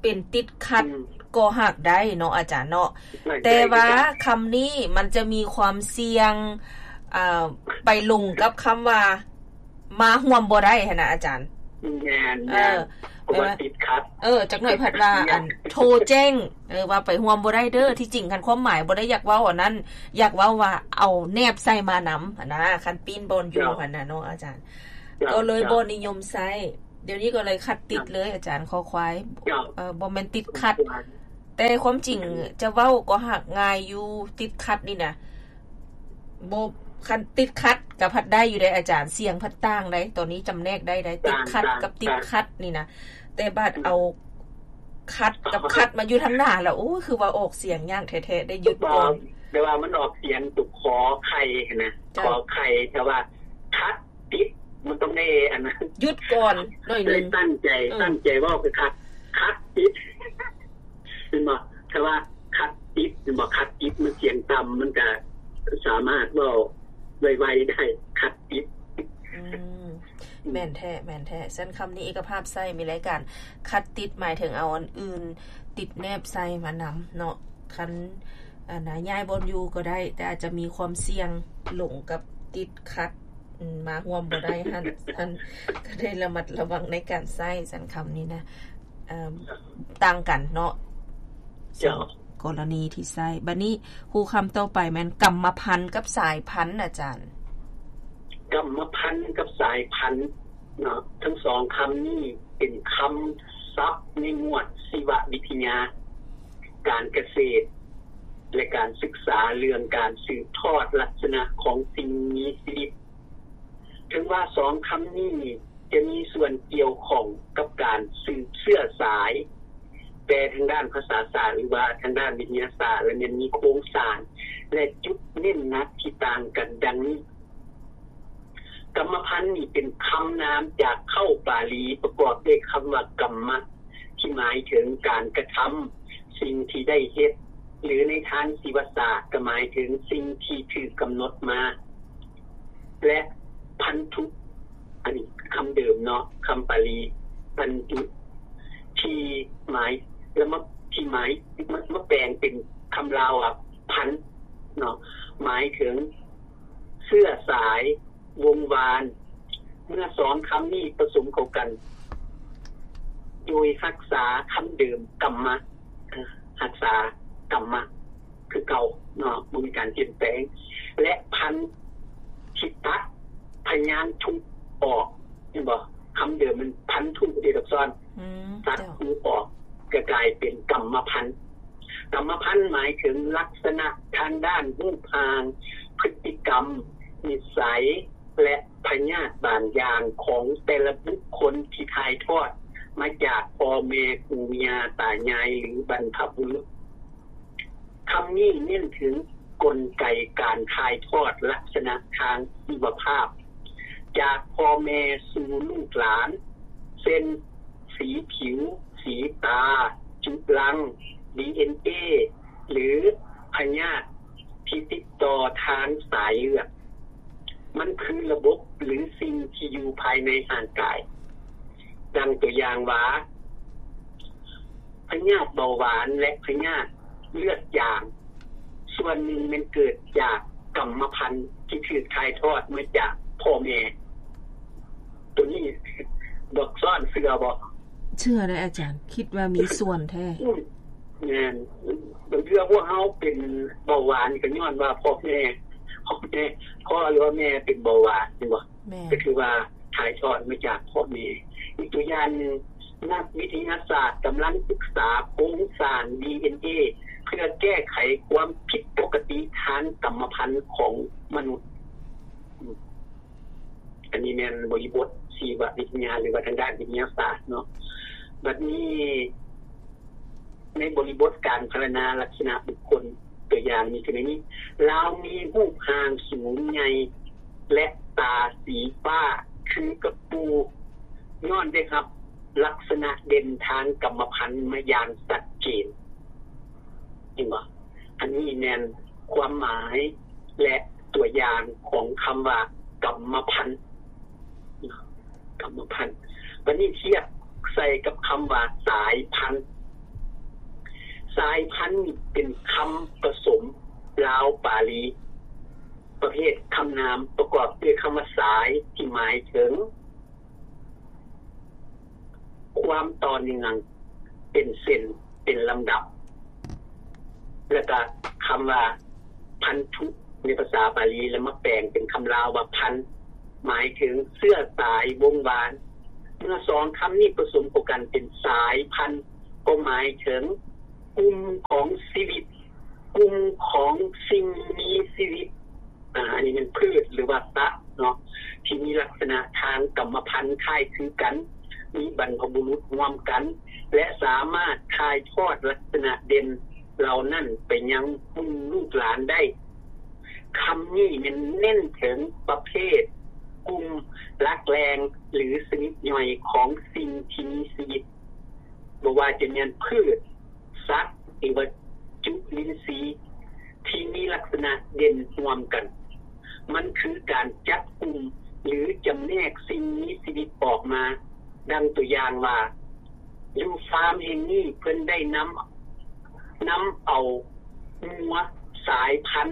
ເປັນຕິດຂັດ ອືມ ກໍຫາກໄດ້ເນາະ ອາຈານເນາະ. ແຕ່ວ່າຄຳນີ້ມັນຈະມີຄວາມສ່ຽງ ອ່າ ໄປລົງກັບຄຳວ່າ ມາຮ່ວມບໍ່ໄດ້ຫັ້ນນະ ອາຈານ. ແມ່ນ ເອີ ແມ່ນ ເພາະວ່າຕິດຂັດ. ເອີ ຈັກໜ້ອຍພັດວ່າ ອັນ ໂທແຈ້ງ ເອີ ວ່າໄປຮ່ວມບໍ່ໄດ້ເດີ້. ທີ່ຈິງຄັນຄວາມໝາຍບໍ່ໄດ້ຢາກເວົ້າອັນນັ້ນ ຢາກເວົ້າວ່າເອົາແນບໃສ່ມານຳຫັ້ນນະ ຄັນປີ້ນບ່ອນຢູ່ຫັ້ນນະເນາະ ອາຈານ. ກໍເລີຍບໍ່ນິຍົມໃຊ້. ດຽວນີ້ກໍເລີຍຂັດຕິດເລີຍ ອາຈານ ຄໍຄວາຍ. ເອີ ບໍ່ແມ່ນຕິດຂັດ. ແຕ່ຄວາມຈິງຈະເວົ້າກໍຫາກງ່າຍຢູ່ ຕິດຂັດນີ້ນະ ບໍ່ ຄັນຕິດຂັດກໍພັດໄດ້ຢູ່ເດ້ອາຈານ ສຽງພັດຕ່າງໄດ໋ ຕອນນີ້ຈຳແນກໄດ້ໄດ໋ ຕິດຂັດກັບຕິດຂັດນີ້ນະ ແຕ່ບາດເອົາຂັດກັບຂັດມາຢູ່ທາງໜ້າແລ້ວ ໂອ້ຍ ຄືວ່າອອກສຽງຍາກແທ້ໆ ໄດ້ຢຸດກ່ອນ ແຕ່ວ່າມັນອອກສຽງຕົວຂໍໄຂ່ຫັ້ນນະ ຂໍໄຂ່ ແຕ່ວ່າຂັດ ຕິດ ມັນຕ້ອງໄດ້ອັນນັ້ນ ຢຸດກ່ອນໜ້ອຍໜຶ່ງ ຕັ້ງໃຈ ເອີ ຕັ້ງໃຈເວົ້າຄືຄັດ ຂັດຕິດ ເຫັນບໍ່? ຖ້າວ່າຂັດຕິດ ເຫັນບໍ່? ຂັດຕິດມັນສຽງຕ່ຳ ມັນກະສາມາດເວົ້າໄວໆໄດ້ ຂັດຕິດ ອືມ ແມ່ນແທ້ ແມ່ນແທ້ ຊັ້ນຄຳນີ້ເອກະພາບໃຊ້ ມີລາຍການຂັດຕິດ ໝາຍເຖິງເອົາອັນອື່ນຕິດແນບໃສ່ມານຳເນາະ ຄັນ ອັນນະ ຍ້າຍບ່ອນຢູ່ກໍໄດ້ ແຕ່ອາດຈະມີຄວາມສ່ຽງຫຼົງກັບຕິດຂັດ ອືມ ມາຮ່ວມບໍ່ໄດ້ຫັ້ນ ຫັ້ນ ກໍໄດ້ລະມັດລະວັງໃນການໃຊ້ຊັ້ນຄຳນີ້ນະ ເອີ່ມ ຕ່າງກັນເນາະ ເຈົ້າ ສອງກໍລະນີທີ່ໃຊ້. ບັດນີ້ ຄູຄຳຕໍ່ໄປແມ່ນກຳມະພັນກັບສາຍພັນ ອາຈານ. ກຳມະພັນກັບສາຍພັນ ເນາະ ທັງສອງຄຳນີ້ເປັນຄຳສັບໃນໝວດຊີວະວິທະຍາ ການກະເສດ ແລະ ການສຶກສາເລື່ອງການສືບທອດລັກສະນະຂອງສິ່ງມີຊີວິດ. ເຖິງວ່າສອງຄຳນີ້ຈະມີສ່ວນກ່ຽວຂ້ອງກັບການສືບເຊື້ອສາຍ ແປທາງດ້ານພາສາສາດ ຫຼືວ່າທາງດ້ານວິທະຍາສາດ ແລະ ແມ່ນມີໂຄງສ້າງ ແລະ ຈຸດເນັ້ນໜັກທີ່ຕ່າງກັນດັ່ງນີ້. ກຳມະພັນນີ້ເປັນຄຳນາມຈາກເຄົ້າປາລີປະກອບດ້ວຍຄຳວ່າ ກຳມະ ທີ່ໝາຍເຖິງການກະທຳ, ສິ່ງທີ່ໄດ້ເຮັດ ຫຼື ໃນທາງຊີວະສາດກໍໝາຍເຖິງສິ່ງທີ່ຖືກກຳນົດມາ ແລະ ພັນທຸ ອັນນີ້ຄຳເດີມເນາະ ຄຳປາລີ ພັນທຸ ທີ່ໝາຍ ແລະ ມາ ທີ່ໝາຍ ມາ ມາແປງເປັນຄຳລາວວ່າ ພັນ ເນາະ ໝາຍເຖິງເຊື້ອສາຍ ວົງວານ ເມື່ອສອງຄຳນີ້ປະສົມເຂົ້າກັນ ໂດຍຮັກສາຄຳເດີມ ກຳມະ ຮັກສາ ກຳມະ ຄືເກົ່າເນາະ ບໍ່ມີການປ່ຽນແປງ ແລະ ພັນ ທີ່ຕັດພະຍາງທຸອອກ ເຫັນບໍ່? ຄຳເດີມມັນພັນທຸເດດອກຊອນ ຕັດ ເຈົ້າ ທຸອອກ ກໍກາຍເປັນກຳມະພັນ. ກຳມະພັນໝາຍເຖິງລັກສະນະທາງດ້ານຮູບຮ່າງ, ພຶດຕິກຳ, ນິໄສ ແລະ ພະຍາດບາງຢ່າງຂອງແຕ່ລະບຸກຄົນທີ່ຖ່າຍທອດມາຈາກພໍ່ແມ່, ປູ່ຍ່າຕາຍາຍ ຫຼື ບັນພະບຸລຸດ. ຄຳນີ້ເນັ້ນເຖິງກົນໄກການຖ່າຍທອດລັກສະນະທາງຊີວະພາບ ຈາກພໍ່ແມ່ສູ່ລູກຫຼານ ເຊັ່ນ ສີຜິວ, ສີຕາ, ຈຸລັງ, ດີເອັນເອ ຫຼື ພະຍາດທີ່ຕິດຕໍ່ທາງສາຍເລືອດ. ມັນຄືລະບົບ ຫຼື ສິ່ງທີ່ຢູ່ພາຍໃນຮ່າງກາຍ. ດັ່ງຕົວຢ່າງວ່າ ພະຍາດເບົາຫວານ ແລະ ພະຍາດເລືອດຈາງ ສ່ວນໜຶ່ງແມ່ນເກີດຈາກກຳມະພັນທີ່ຖືກຖ່າຍທອດມາຈາກພໍ່ແມ່. ໂຕນີ້ ດອກຊອນເຊື່ອບໍ່? ເຊື່ອເດ້ອາຈານ ຄິດວ່າມີສ່ວນແທ້. ອືມ ແມ່ນ. ບາງເທື່ອພວກເຮົາເປັນເບົາຫວານກໍຍ້ອນວ່າພໍ່ແມ່ ພໍ່ແມ່ ພໍ່ ຫຼືວ່າແມ່ເປັນເບົາຫວານ ແມ່ນບໍ່? ແມ່ນ. ກໍຄືວ່າຖ່າຍທອດມາຈາກພໍ່ແມ່. ອີກຕົວຢ່າງໜຶ່ງ, ນັກວິທະຍາສາດກຳລັງສຶກສາໂຄງສ້າງດີເອັນເອ ເພື່ອແກ້ໄຂຄວາມຜິດປົກກະຕິທາງກຳມະພັນຂອງມະນຸດ. ອັນນີ້ແມ່ນບໍລິບົດຊີວະວິທະຍາ ຫຼືວ່າທາງດ້ານວິທະຍາສາດເນາະ. ບັດນີ້ ໃນບໍລິບົດການພັນລະນາລັກສະນະບຸກຄົນ ຕົວຢ່າງມີຄືໃນນີ້, ລາວມີຮູບຮ່າງສູງໃຫຍ່ ແລະ ຕາສີຟ້າຄືກັບປູ່ ຍ້ອນໄດ້ຮັບລັກສະນະເດັ່ນທາງກຳມະພັນມາຢ່າງຊັດເຈນ. ເຫັນບໍ່? ອັນນີ້ແມ່ນຄວາມໝາຍ ແລະ ຕົວຢ່າງຂອງຄຳວ່າກຳມະພັນ. ກຳມະພັນ. ບັດນີ້ທຽບໃສ່ກັບຄຳວ່າສາຍພັນ. ສາຍພັນນີ້ເປັນຄຳປະສົມລາວປາລີ ປະເພດຄຳນາມປະກອບດ້ວຍຄຳວ່າສາຍ ທີ່ໝາຍເຖິງ ຄວາມຕໍ່ເນື່ອງເປັນເສັ້ນເປັນລຳດັບ ແລ້ວກະຄຳວ່າພັນທຸ ໃນພາສາບາລີ ແລ້ວມາແປງເປັນຄຳລາວວ່າພັນ ໝາຍເຖິງເຊື້ອສາຍວົງວານ. ເມື່ອສອງຄຳນີ້ປະສົມເຂົ້າກັນເປັນສາຍພັນ ກໍໝາຍເຖິງ ກຸ່ມຂອງຊີວິດ, ກຸ່ມຂອງສິ່ງມີຊີວິດ, ອາ ອັນນີ້ແມ່ນພືດ ຫຼືວ່າສັດເນາະ ທີ່ມີລັກສະນະທາງກຳມະພັນຄ້າຍຄືກັນ, ມີບັນພະບຸລຸດຮ່ວມກັນ ແລະ ສາມາດຖ່າຍທອດລັກສະນະເດັ່ນເຫຼົ່ານັ້ນໄປຍັງລຸ້ນລູກຫຼານໄດ້. ຄຳນີ້ແມ່ນເນັ້ນເຖິງປະເພດ, ກຸ່ມ, ຫຼັກແຫຼ່ງ ຫຼື ຊະນິດຍ່ອຍຂອງສິ່ງທີ່ມີຊີວິດ, ບໍ່ວ່າຈະແມ່ນພືດ, ສັດ ຫຼືວ່າຈຸລິນຊີ ທີ່ມີລັກສະນະເດັ່ນຮ່ວມກັນ. ມັນຄືການຈັບກຸ່ມ ຫຼື ຈຳແນກສິ່ງມີຊີວິດອອກມາ. ດັ່ງຕົວຢ່າງວ່າ ຢູ່ຟາມແຫ່ງນີ້ເພິ່ນໄດ້ນຳ, ນຳເອົາງົວສາຍພັນ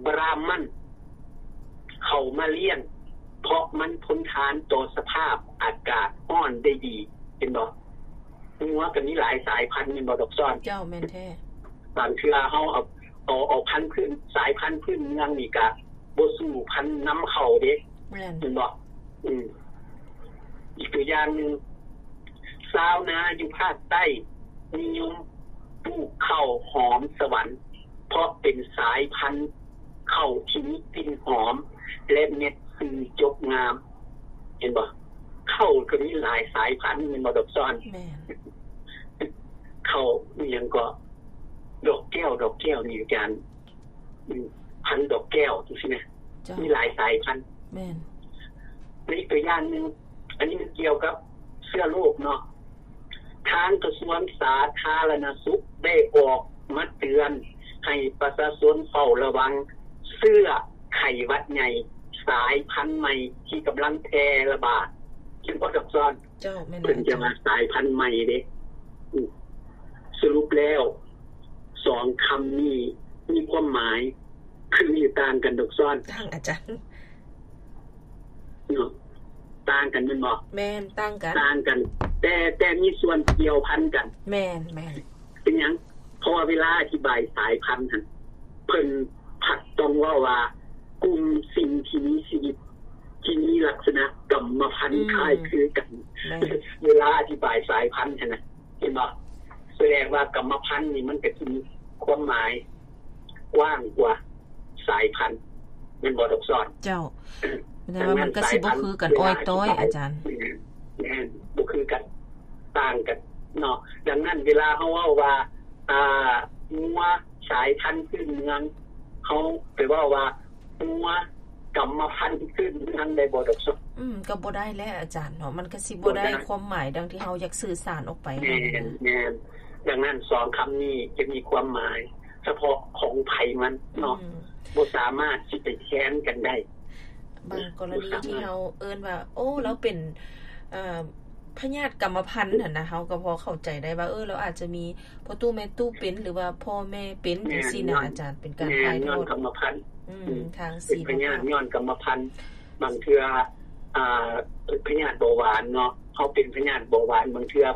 ບຣາໝັນເຂົ້າມາລ້ຽງ ເພາະມັນທົນທານຕໍ່ສະພາບອາກາດຮ້ອນໄດ້ດີ. ເຫັນບໍ່? ງົວກໍມີຫຼາຍສາຍພັນແມ່ນບໍ່ດອກຊອນ? ເຈົ້າ ແມ່ນແທ້. ບາງເທື່ອເຮົາເອົາ, ເອົາ, ເອົາພັນພື້ນ, ສາຍພັນພື້ນເມືອງນີ້ກະບໍ່ສູ້ພັນນຳເຂົ້າເດ້. ແມ່ນ. ແມ່ນບໍ່? ອືມ. ອີກຕົວຢ່າງໜຶ່ງ, ຊາວນາຢູ່ພາກໃຕ້ນິຍົມປູກເຂົ້າຫອມສະຫວັນ ເພາະເປັນສາຍພັນເຂົ້າທີ່ມີກິ່ນຫອມ ແລະ ເມັດຊື່ຈົບງາມ. ເຫັນບໍ່? ເຂົ້າກໍມີຫຼາຍສາຍພັນແມ່ນບໍ່ດອກຊອນ? ແມ່ນ. ເຂົ້າອີ່ຫຍັງກໍ ດອກແກ້ວ, ດອກແກ້ວນີ້ອາຈານ, ອືມ, ພັນດອກແກ້ວຈັ່ງຊີ້ນະ. ເຈົ້າ. ມີຫຼາຍສາຍພັນ. ແມ່ນ. ແລະ ອີກຕົວຢ່າງໜຶ່ງ, ອັນນີ້ມັນກ່ຽວກັບເຊື້ອໂລກເນາະ. ທາງກະຊວງສາທາລະນະສຸກໄດ້ອອກມາເຕືອນໃຫ້ປະຊາຊົນເຝົ້າລະວັງເຊື້ອໄຂ້ຫວັດໃຫຍ່ສາຍພັນໃໝ່ທີ່ກຳລັງແຜ່ລະບາດ. ເຫັນບໍ່ດອກຊອນ? ເຈົ້າ, ແມ່ນ. ເພິ່ນຈະວ່າສາຍພັນໃໝ່ເດ້. ອືມ. ສະຫຼຸບແລ້ວ ສອງຄຳນີ້ມີຄວາມໝາຍຄື ຫຼື ຕ່າງກັນດອກຊອນ? ຕ່າງ ອາຈານ. ເນາະ, ຕ່າງກັນແມ່ນບໍ່? ແມ່ນ, ຕ່າງກັນ. ຕ່າງກັນ, ແຕ່, ແຕ່ມີສ່ວນກ່ຽວພັນກັນ. ແມ່ນ, ແມ່ນ. ເປັນຫຍັງ? ເພາະວ່າເວລາອະທິບາຍສາຍພັນຫັ້ນ ເພິ່ນພັດຕ້ອງເວົ້າວ່າ ກຸ່ມສິ່ງທີ່ມີຊີວິດ ທີ່ມີລັກສະນະກຳມະພັນ ອືມ ຄ້າຍຄືກັນ. ແມ່ນ. ເວລາອະທິບາຍສາຍພັນຫັ້ນນະ, ເຫັນບໍ່? ສະແດງວ່າກຳມະພັນນີ້ມັນກໍຈະມີຄວາມໝາຍກວ້າງກວ່າ ສາຍພັນ ແມ່ນບໍ່ດອກຊອນ? ເຈົ້າ. ແຕ່ວ່າມັນກໍຊິບໍ່ຄືກັນອ້ອຍຕ້ອຍ ອາຈານ. ແມ່ນ, ບໍ່ຄືກັນ, ຕ່າງກັນເນາະ. ດັ່ງນັ້ນເວລາເຮົາເວົ້າວ່າ ອ່າ ງົວສາຍພັນພື້ນເມືອງ, ເຮົາໄປເວົ້າວ່າ ງົວກຳມະພັນພື້ນເມືອງໄດ້ບໍ່ດອກຊອນ? ອືມ, ກໍບໍ່ໄດ້ແຫຼະອາຈານເນາະ, ມັນກໍຊິບໍ່ໄດ້ ບໍ່ໄດ້ຄວາມໝາຍດັ່ງທີ່ເຮົາຢາກສື່ສານອອກໄປ. ແມ່ນ, ແມ່ນ. ດັ່ງນັ້ນສອງຄຳນີ້ຈະມີຄວາມໝາຍ ສະເພາະຂອງໃຜມັນເນາະ, ອືມ ບໍ່ສາມາດຊິໄປແທນກັນໄດ້. ບາງກໍລະນີທີ່ເຮົາເອີ້ນວ່າ ໂອ້ ລາວເປັນ ເອີ ພະຍາດກຳມະພັນຫັ້ນນະ, ເຮົາກໍພໍເຂົ້າໃຈໄດ້ວ່າ ເອີ ລາວອາດຈະມີພໍ່ຕູ້ແມ່ຕູ້ເປັນ ຫຼືວ່າພໍ່ແມ່ເປັນ ແມ່ນ ຈັ່ງຊີ້ນະ ຍ້ອນ ອາຈານ, ເປັນການ ແມ່ນ ຖ່າຍທອດ ຍ້ອນກຳມະພັນ. ອືມ ອືມ ທາງ ເປັນພະຍາດຍ້ອນກຳມະພັນ. ບາງເທື່ອ ອ່າ ເປັນພະຍາດເບົາຫວານເນາະ, ເຮົາເປັນພະຍາດເບົາຫວານ ບາງເທື່ອ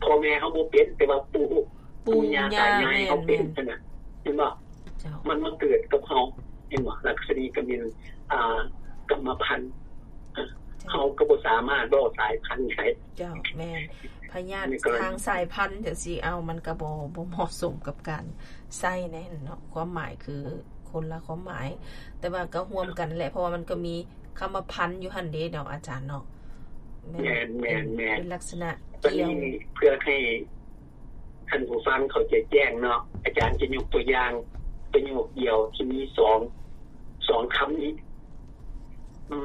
ພໍ່ແມ່ເຮົາບໍ່ເປັນ ແຕ່ວ່າປູ່ ປູ່ ປູ່ຍ່າ ຕາຍາຍເຮົາເປັນ ແມ່ນ ຫັ້ນນະ, ເຫັນບໍ່? ເຈົ້າ. ມັນມາເກີດກັບເຮົາ, ເຫັນບໍ່? ລັກສະນີກໍແມ່ນ ອ່າ ກຳມະພັນ. ເຈົ້າ. ເຮົາກໍບໍ່ສາມາດເວົ້າສາຍພັນໄດ້. ເຈົ້າ, ແມ່ນ. ພະຍາດທາງສາຍພັນຈັ່ງຊີ້ ເອົາ ມັນກໍບໍ່ ບໍ່ເໝາະສົມກັບການໃຊ້ແນ່ເນາະ, ຄວາມໝາຍຄືຄົນລະຄວາມໝາຍ. ແຕ່ວ່າກໍຮ່ວມກັນແຫຼະ, ເພາະວ່າມັນກໍມີຄຳວ່າພັນຢູ່ຫັ້ນເດ້ເນາະ ອາຈານເນາະ. ແມ່ນ ແມ່ນ ແມ່ນ ເປັນ ເປັນລັກສະນະກ່ຽວ. ບັດນີ້ເພື່ອໃຫ້ ທ່ານຜູ້ຟັງເຂົ້າໃຈແຈ້ງເນາະ, ອາຈານຈະຍົກຕົວຢ່າງປະໂຫຍກດຽວທີ່ມີສອງ ສອງຄຳນີ້.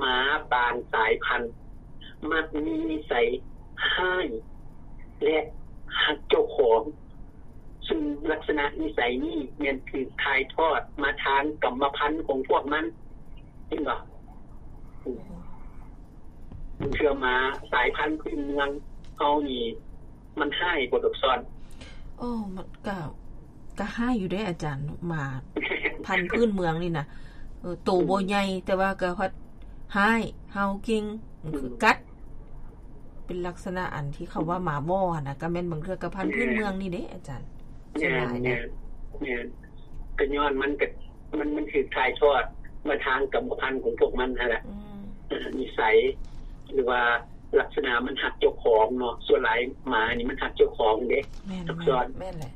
ໝາບາງສາຍພັນມັກມີນິໄສຮ້າຍ ແລະ ຮັກເຈົ້າຂອງ, ຊຶ່ງລັກສະນະນິໄສນີ້ແມ່ນຖືກຖ່າຍທອດມາທາງກຳມະພັນຂອງພວກມັນ. ເຫັນບໍ່? ເທື່ອໝາສາຍພັນພື້ນເມືອງເຮົານີ້ ມັນຮ້າຍບໍ່ດອກຊອນ? ໂອ້ ມັນກະ ກະຮ້າຍຢູ່ເດ້ອາຈານ, ໝາພັນພື້ນເມືອງນີ້ນະ. ເອີ ໂຕບໍ່ໃຫຍ່ ແຕ່ວ່າກະພັດຮ້າຍ, ເຫົ່າເກັ່ງ, ອືມ ຄືກັດ. ເປັນລັກສະນະອັນທີ່ເຂົາວ່າໝາວໍຫັ້ນນະ, ກະແມ່ນບາງເທື່ອກະພັນພື້ນເມືອງນີ້ເດ້ອາຈານ. ແມ່ນ ສ່ວນຫຼາຍນະ ແມ່ນ ແມ່ນ. ກະຍ້ອນມັນກະ ມັນ ມັນຖືກຖ່າຍທອດມາທາງກຳມະພັນຂອງພວກມັນຫັ້ນລະ. ອືມ ເອີ ນິໄສ ຫຼືວ່າລັກສະນະມັນຮັກເຈົ້າຂອງເນາະ, ສ່ວນຫຼາຍໝານີ້ມັນຮັກເຈົ້າຂອງເດ້. ແມ່ນ ແມ່ນ ແມ່ນແຫຼະ.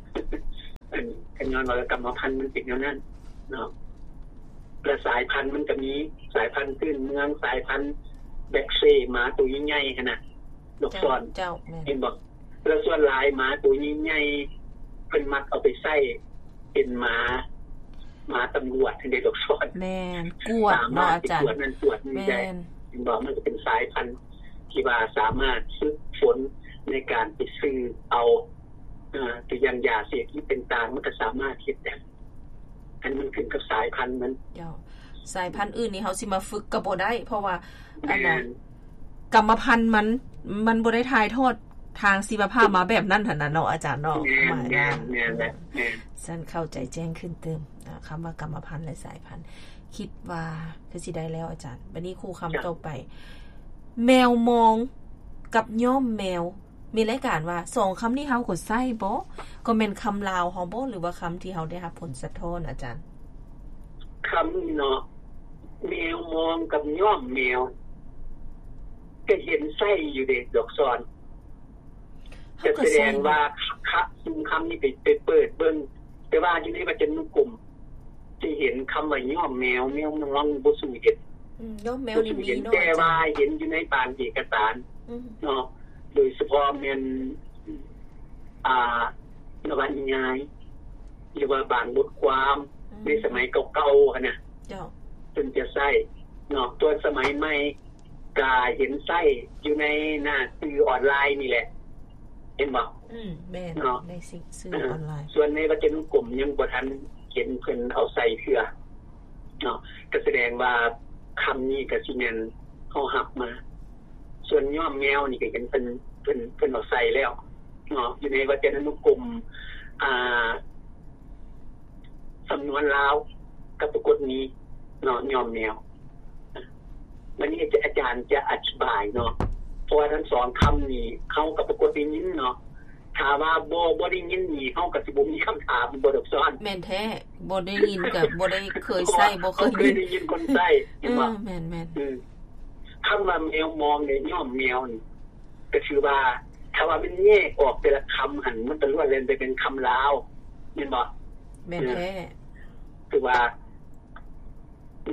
ຍ້ອນວ່າກຳມະພັນມັນເປັນແນວນັ້ນເນາະ. ແລະສາຍພັນມັນກໍມີສາຍພັນພື້ນເມືອງ, ສາຍພັນແບັກເຊ, ໝາໂຕໃຫຍ່ໆຫັ້ນນະ ດອກຊອນ ເຈົ້າ ເຫັນບໍ່? ແລະສ່ວນຫຼາຍໝາໂຕໃຫຍ່ໆ ເພິ່ນມັກເອົາໄປໃຊ້ເປັນໝາ ໝາຕຳຫຼວດຫັ້ນເດ້ ດອກຊອນ. ແມ່ນ ກວດເນາະ ອາຈານ ກວດນັ້ນກວດນີ້ໄດ້ ເຫັນບໍ່? ມັນກໍເປັນສາຍພັນທີ່ວ່າສາມາດຝຶກຝົນໃນການໄປຊື້ເອົາ ເອີ ຕົວຢ່າງຢາເສບຕິດຕ່າງໆ ມັນກໍສາມາດເຮັດໄດ້. ອັນມັນຂຶ້ນກັບສາຍພັນມັນ. ເຈົ້າ ສາຍພັນອື່ນນີ້ເຮົາຊິມາຝຶກກໍບໍ່ໄດ້ ເພາະວ່າ ແມ່ນ ອັນນ່າ ກຳມະພັນມັນ ມັນບໍ່ໄດ້ຖ່າຍທອດທາງຊີວະພາບມາແບບນັ້ນຫັ້ນນະເນາະ ອາຈານເນາະ. ແມ່ນ ແມ່ນ ແມ່ນແຫຼະ ແມ່ນ. ຊັ້ນເຂົ້າໃຈແຈ້ງຂຶ້ນຕື່ມ ຄຳວ່າກຳມະພັນ ແລະ ສາຍພັນ. ຄິດວ່າຄືຊິໄດ້ແລ້ວອາຈານ. ບັດນີ້ຄູ່ຄຳຕໍ່ໄປ ແມວມອງກັບຍ້ອມແມວ ມີລາຍການວ່າ ສອງຄຳນີ້ເຮົາກໍໃຊ້ບໍ່? ກໍແມ່ນຄຳລາວເຮົາບໍ່ ຫຼືວ່າຄຳທີ່ເຮົາໄດ້ຮັບຜົນສະທ້ອນ ອາຈານ? ຄຳນີ້ເນາະ ແມວມອງກັບຍ້ອມແມວ ກໍເຫັນໃຊ້ຢູ່ເດ້ ດອກຊອນ. ກໍສະແດງວ່າ ຄະ ຊຸມຄຳນີ້ໄປ ໄປເປີດເບິ່ງ ແຕ່ວ່າຢູ່ໃນວັດຈະນຸກົມ ຊິເຫັນຄຳວ່າຍ້ອມແມວ, ແມວມອງບໍ່ສູ້ເຫັນ. ອືມ ຍ້ອມແມວນີ້ມີເນາະ ແຕ່ວ່າເຫັນຢູ່ໃນບາງເອກະສານເນາະ ໂດຍສະເພາະແມ່ນ ອ່າ ນະວະນິຍາຍ ຫຼືວ່າບາງບົດຄວາມໃນສະໄໝເກົ່າໆຫັ້ນນະ ເພິ່ນຈະໃຊ້ເນາະ. ສ່ວນສະໄໝໃໝ່ ກະເຫັນໃຊ້ຢູ່ໃນໜ້າສື່ອອນລາຍນີ້ແຫຼະ ເຫັນບໍ່? ອືມ ແມ່ນເນາະ ໃນສື່ ສື່ອອນລາຍ. ສ່ວນໃນວັດຈະນຸກົມຍັງບໍ່ທັນເຫັນເພິ່ນເອົາໃສ່ເທື່ອເນາະ ກໍສະແດງວ່າຄຳນີ້ກໍຊິແມ່ນເຮົາຮັບມາ. ສ່ວນຍ້ອມແມວນີ້ກໍເຫັນເພິ່ນ ເພິ່ນ ເພິ່ນເອົາໃສ່ແລ້ວເນາະ ຢູ່ໃນວັດຈະນຸກົມ ອ່າ ສຳນວນລາວກັບປາກົດມີເນາະ ຍ້ອມແມວ. ບັດນີ້ອາຈານຈະອະທິບາຍເນາະ ເພາະວ່າທັງສອງຄຳນີ້ເຮົາກັບປາກົດໄດ້ຍິນເນາະ. ຖ້າວ່າບໍ່ ບໍ່ໄດ້ຍິນນີ້ ເຮົາກໍຊິບໍ່ມີຄຳຖາມ ບໍ່ ດອກຊອນ. ແມ່ນແທ້ ບໍ່ໄດ້ຍິນກໍບໍ່ໄດ້ເຄີຍໃຊ້ ບໍ່ເຄີຍໄດ້ຍິນ ເຄີຍໄດ້ຍິນຄົນໃຊ້ ເຫັນບໍ່? ເອີ ແມ່ນໆ ອືມ ຄຳວ່າແມວມອງ ແລະ ຍ້ອມແມວນີ້ ກໍຖືວ່າ ຖ້າວ່າມັນແຍກອອກແຕ່ລະຄຳຫັ້ນ ມັນກໍລ້ວນແລ້ວແຕ່ເປັນຄຳລາວ ແມ່ນບໍ່? ແມ່ນແທ້ ເອີ ຄືວ່າ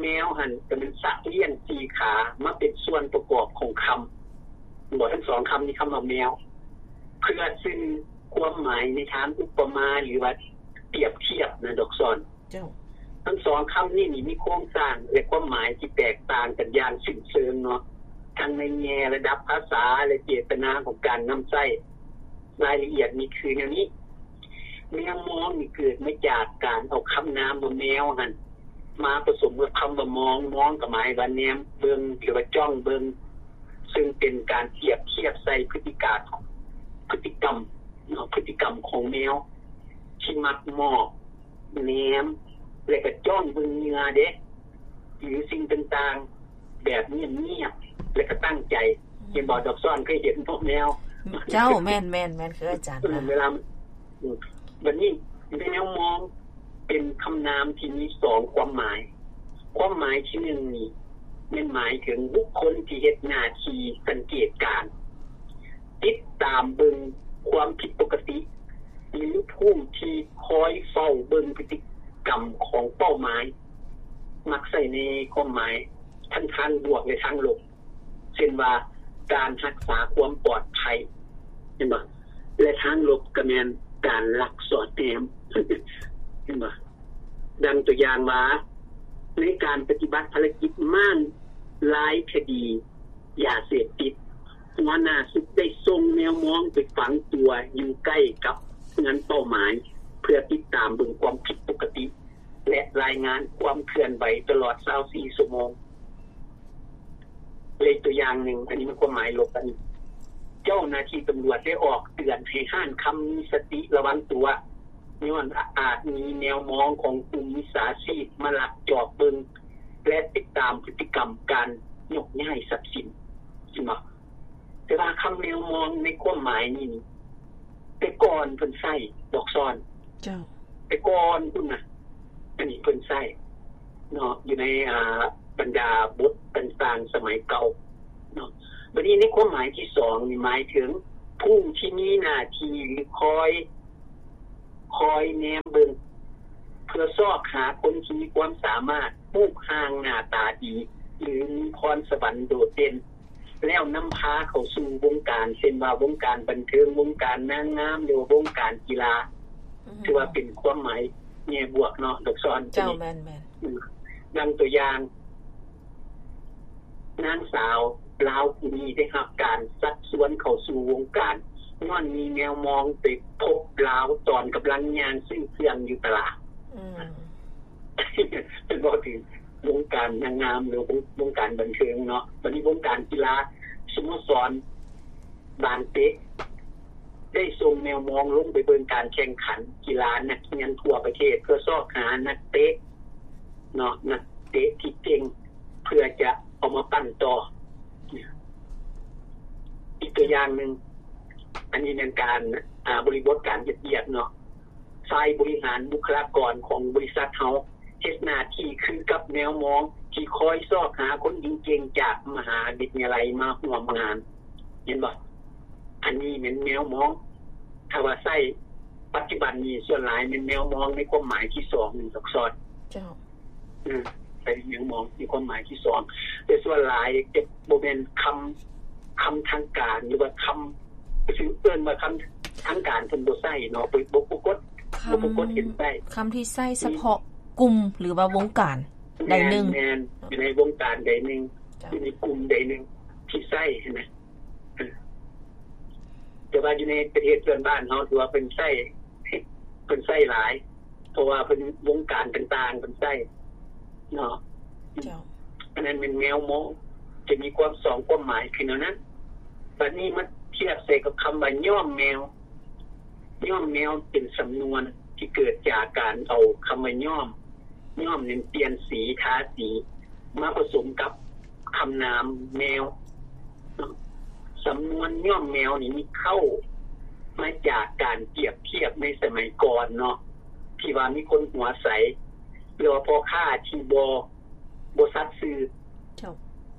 ແມວຫັ້ນກໍແມ່ນສັດລ້ຽງສີ່ຂາ ມາເປັນສ່ວນປະກອບຂອງຄຳ ບໍ່ ທັງສອງຄຳນີ້ ຄຳວ່າແມວ ເພື່ອສື່ຄວາມໝາຍໃນທາງອຸປະມາ ຫຼືວ່າປຽບທຽບນະ ດອກຊອນ. ເຈົ້າ ທັງສອງຄຳນີ້ນີ້ມີໂຄງສ້າງ ແລະ ຄວາມໝາຍທີ່ແຕກຕ່າງກັນຢ່າງສິ້ນເຊີງເນາະ ທັງໃນແງ່ລະດັບພາສາ ແລະ ເຈດຕະນາຂອງການນຳໃຊ້. ລາຍລະອຽດນີ້ຄືແນວນີ້ ແມວມອງນີ້ເກີດມາຈາກການເອົາຄຳນາມວ່າແມວຫັ້ນ ມາປະສົມກັບຄຳວ່າມອງ, ມອງກໍໝາຍວ່າແນມເບິ່ງ ຫຼືວ່າຈ້ອງເບິ່ງ, ເຊິ່ງເປັນການປຽບທຽບໃສ່ພຶດຕິການ, ພຶດຕິກຳເນາະ, ພຶດຕິກຳຂອງແມວທີ່ມັກມອບ, ແນມ ແລະ ກໍຈ້ອງເບິ່ງເຫຍື່ອເດ້ ຫຼືສິ່ງຕ່າງໆ ແບບງຽບໆ ແລະ ກໍຕັ້ງໃຈ. ເຫັນບໍ່ ດອກຊອນ ເຄີຍເຫັນບໍ່ແມວ? ເຈົ້າ ແມ່ນໆໆ ຄືອາຈານ ເອີ ວ່າ ເວລາ ອືມ ບັດນີ້ແມວມອງເປັນຄຳນາມທີ່ມີສອງຄວາມໝາຍ. ຄວາມໝາຍທີໜຶ່ງນີ້ແມ່ນໝາຍເຖິງບຸກຄົນທີ່ເຮັດໜ້າທີ່ສັງເກດການ, ຕິດຕາມເບິ່ງຄວາມຜິດປົກກະຕິ ຫຼືຜູ້ທີ່ຄອຍເຝົ້າເບິ່ງພຶດຕິກຳຂອງເປົ້າໝາຍ, ມັກໃຊ້ໃນຄວາມໝາຍທັງທາງບວກ ແລະ ທາງລົບ. ເຊັ່ນວ່າ ການຮັກສາຄວາມປອດໄພ ເຫັນບໍ່? ແລະ ທາງລົບກໍແມ່ນການລັກສອດແນມ ເຫັນບໍ່? ດັ່ງຕົວຢ່າງວ່າ ໃນການປະຕິບັດພາລະກິດມ້າງລາຍຄະດີຢາເສບຕິດ, ຫົວໜ້າຊຸດໄດ້ສົ່ງແມວມອງໄປຝັງຕົວຢູ່ໃກ້ກັບເຮືອນເປົ້າໝາຍ ເພື່ອຕິດຕາມເບິ່ງຄວາມຜິດປົກກະຕິ ແລະ ລາຍງານຄວາມເຄື່ອນໄຫວຕະຫຼອດຊາວສີ່ຊົ່ວໂມງ. ແລະ ອີກຕົວຢ່າງໜຶ່ງ, ອັນນີ້ມັນຄວາມໝາຍລົບ, ອັນນີ້ ເຈົ້າໜ້າທີ່ຕຳຫຼວດໄດ້ອອກເຕືອນໃຫ້ຮ້ານຄຳມີສະຕິລະວັງຕົວ, ຍ້ອນອາດມີແມວມອງຂອງກຸ່ມມິດສາຊີບມາລັກຈອບເບິ່ງ ແລະ ຕິດຕາມພຶດຕິກຳການຍົກຍ້າຍຊັບສິນ. ເຫັນບໍ່? ແຕ່ວ່າຄຳແມວມອງໃນຄວາມໝາຍນີ້ ແຕ່ກ່ອນເພິ່ນໃຊ້ ດອກຊອນ. ເຈົ້າ. ແຕ່ກ່ອນພຸ້ນນະ ອັນນີ້ເພິ່ນໃຊ້ເນາະ ຢູ່ໃນ ອ່າ ບັນດາບົດຕ່າງໆສະໄໝເກົ່າເນາະ. ບັດນີ້ໃນຄວາມໝາຍທີສອງນີ້ ໝາຍເຖິງຜູ້ທີ່ມີໜ້າທີ່ ຫຼື ຄອຍ ຄອຍແນມເບິ່ງ ເພື່ອຊອກຫາຄົນທີ່ມີຄວາມສາມາດ, ຮູບຮ່າງໜ້າຕາດີ ຫຼື ມີພອນສະຫວັນໂດດເດັ່ນ ແລ້ວນຳພາເຂົ້າສູ່ວົງການ ເຊັ່ນວ່າວົງການບັນເທີງ, ວົງການນາງງາມ ຫຼືວ່າວົງການກິລາ. ອືມ ຖືວ່າເປັນຄວາມໝາຍແງ່ບວກເນາະ ດອກຊອນ. ເຈົ້າ ແມ່ນໆ. ອືມ ດັ່ງຕົວຢ່າງ ນາງສາວລາວຜູ້ນີ້ໄດ້ຮັບການຊັກຊວນເຂົ້າສູ່ວົງການ ຍ້ອນມີແມວມອງໄປພົບລາວຕອນກຳລັງຍ່າງຊື້ເຄື່ອງຢູ່ຕະຫຼາດ. ອືມ ເປັນເວົ້າເຖິງວົງການນາງງາມ ຫຼື ວົງ ວົງການບັນເທີງເນາະ. ບັດນີ້ວົງການກິລາ ສະໂມສອນບານເຕະ ໄດ້ສົ່ງແມວມອງລົງໄປເບິ່ງການແຂ່ງຂັນກິລານັກຮຽນທົ່ວປະເທດ ເພື່ອຊອກຫານັກເຕະເນາະ ນັກເຕະທີ່ເກັ່ງ ເພື່ອຈະເອົາມາປັ້ນຕໍ່. ອີກຕົວຢ່າງໜຶ່ງ ອັນນີ້ແມ່ນການ ອາ ບໍລິບົດການເຮັດວຽກເນາະ. ຝ່າຍບໍລິຫານບຸກຄະລາກອນຂອງບໍລິສັດເຮົາ ເຮັດໜ້າທີ່ຄືກັບແມວມອງທີ່ຄອຍຊອກຫາຄົນເກັ່ງໆຈາກມະຫາວິທະຍາໄລມາຮ່ວມງານ. ເຫັນບໍ່? ອັນນີ້ແມ່ນແມວມອງ. ຖ້າວ່າໃຊ້ປັດຈຸບັນນີ້ ສ່ວນຫຼາຍແມ່ນແມວມອງໃນຄວາມໝາຍທີສອງນີ້ ດອກຊອນ. ເຈົ້າ. ອືມ ໃຊ້ແມວມອງໃນຄວາມໝາຍທີສອງ ແຕ່ສ່ວນຫຼາຍຈະບໍ່ແມ່ນຄຳ ຄຳທາງການ ຫຼືວ່າຄຳ ຄືເອີ້ນວ່າຄຳທາງການເພິ່ນບໍ່ໃຊ້ເນາະ ບໍ່ ບໍ່ປາກົດ ຄຳ ບໍ່ປາກົດເຫັນໄດ້ ຄຳທີ່ໃຊ້ສະເພາະກຸ່ມ ຫຼືວ່າວົງການໃດໜຶ່ງ. ແມ່ນ ແມ່ນ ຢູ່ໃນວົງການໃດໜຶ່ງ ເຈົ້າ ຢູ່ໃນກຸ່ມໃດໜຶ່ງທີ່ໃຊ້ຫັ້ນນະ. ແຕ່ວ່າຢູ່ໃນປະເທດເພື່ອນບ້ານເຮົາ ຖືວ່າເພິ່ນໃຊ້ ເພິ່ນໃຊ້ຫຼາຍ ເພາະວ່າເພິ່ນ ວົງການຕ່າງໆເພິ່ນໃຊ້ເນາະ. ເຈົ້າ. ອັນນັ້ນແມ່ນແມວມອງ ຈະມີຄວາມສອງຄວາມໝາຍຄືແນວນັ້ນ. ບັດນີ້ມາທຽບໃສ່ກັບຄຳວ່າຍ້ອມແມວ. ຍ້ອມແມວເປັນສຳນວນທີ່ເກີດຈາກການເອົາຄຳວ່າຍ້ອມ, ຍ້ອມນັ້ນປ່ຽນສີ, ທາສີ ມາປະສົມກັບຄຳນາມແມວ. ສຳນວນຍ້ອມແມວນີ້ມີເຄົ້າມາຈາກການປຽບທຽບໃນສະໄໝກ່ອນເນາະ ທີ່ວ່າມີຄົນຫົວໃສ ຫຼືວ່າພໍ່ຄ້າທີ່ບໍ່ ບໍ່ສັດຊື່ ເຈົ້າ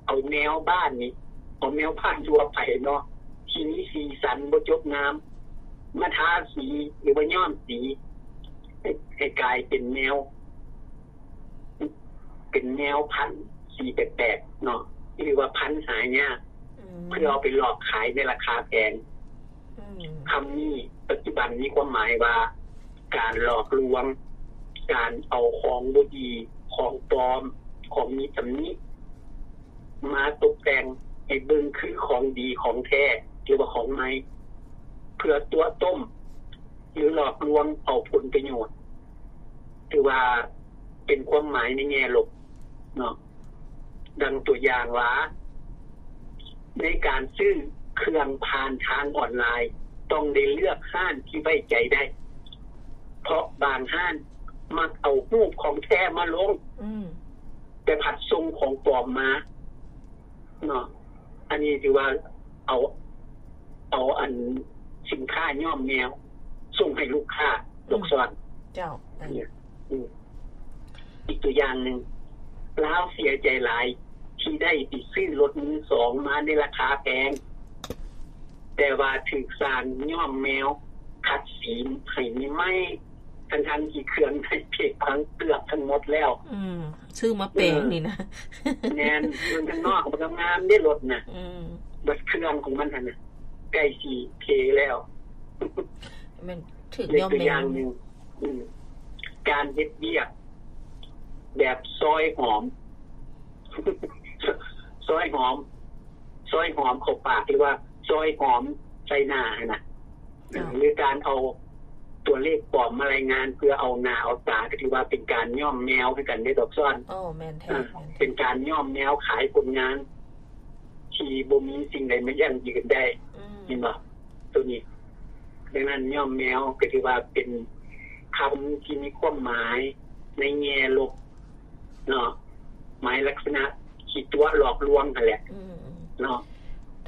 ເອົາແມວບ້ານນີ້ ເອົາແມວບ້ານທົ່ວໄປເນາະ ທີ່ມີສີສັນບໍ່ຈົບງາມ ມາທາສີ ຫຼືວ່າຍ້ອມສີ ໃຫ້ ໃຫ້ກາຍເປັນແມວ ເປັນແມວພັນສີແປກໆເນາະ ຫຼືວ່າພັນຫາຍາກ ອືມ ເພື່ອເອົາໄປຫຼອກຂາຍໃນລາຄາແພງ. ອືມ ຄຳນີ້ປັດຈຸບັນມີຄວາມໝາຍວ່າ ການຫຼອກລວງ, ການເອົາຂອງບໍ່ດີ, ຂອງປອມ, ຂອງມີຕຳໜິ ມາຕົບແຕ່ງໃຫ້ເບິ່ງຄືຂອງດີຂອງແທ້ ຫຼືວ່າຂອງໃໝ່ ເພື່ອຕົວະຕົ້ມ ຫຼື ຫຼອກລວງເອົາຜົນປະໂຫຍດ ຖືວ່າເປັນຄວາມໝາຍໃນແງ່ລົບເນາະ. ດັ່ງຕົວຢ່າງວ່າ ໃນການຊື້ເຄື່ອງຜ່ານທາງອອນລາຍ ຕ້ອງໄດ້ເລືອກຮ້ານທີ່ໄວ້ໃຈໄດ້ ເພາະບາງຮ້ານມັກເອົາຮູບຂອງແທ້ມາລົງ ອືມ ແຕ່ພັດສົ່ງຂອງປອມມາເນາະ. ອັນນີ້ຖືວ່າເອົາ ເອົາອັນສິນຄ້າຍ້ອມແມວສົ່ງໃຫ້ລູກຄ້າ ອືມ ລູກຊອນ. ເຈົ້າ. ອີກຕົວຢ່າງໜຶ່ງ ລາວເສຍໃຈຫຼາຍທີ່ໄດ້ໄປຊື້ລົດມືສອງມາໃນລາຄາແພງ ແຕ່ວ່າຖືກຊ່າງຍ້ອມແມວຂັດສີໃຫ້ໃໝ່ ທັງໆທີ່ເຄື່ອງໃນເພກພັງເກືອບທັງໝົດແລ້ວ. ອືມ ຊື້ມາແປງນີ້ນະ. ແມ່ນ ເບິ່ງທາງນອກມັນກໍງາມເດ້ລົດນະ. ອືມ ບັດເຄື່ອງຂອງມັນຫັ້ນນະ ໃກ້ຊິເພແລ້ວ. ແມ່ນ ຖືກຍ້ອມແມວ. ອີກຕົວຢ່າງໜຶ່ງ ອືມ ການເຮັດວຽກແບບຊອຍຫອມ ຊອຍຫອມ ຊອຍຫອມເຂົ້າປາກ ຫຼືວ່າຊອຍຫອມໃສ່ໜ້າຫັ້ນນະ ເຈົ້າ ຫຼືການເອົາຕົວເລກປອມມາລາຍງານເພື່ອເອົາໜ້າເອົາຕາ ກໍຖືວ່າເປັນການຍ້ອມແມວຄືກັນເດ້ ດອກຊອນ. ໂອ້ ແມ່ນແທ້ ອ່າ ແມ່ນແທ້ ເປັນການຍ້ອມແມວຂາຍຜົນງານທີ່ບໍ່ມີສິ່ງໃດມາຢັ້ງຢືນໄດ້. ອືມ ເຫັນບໍ່? ໂຕນີ້ ດັ່ງນັ້ນ ຍ້ອມແມວກໍຖືວ່າເປັນຄຳທີ່ມີຄວາມໝາຍໃນແງ່ລົບເນາະ ໝາຍລັກສະນະທີ່ຕົວະຫຼອກລວງຫັ້ນແຫຼະ ອືມ ເນາະ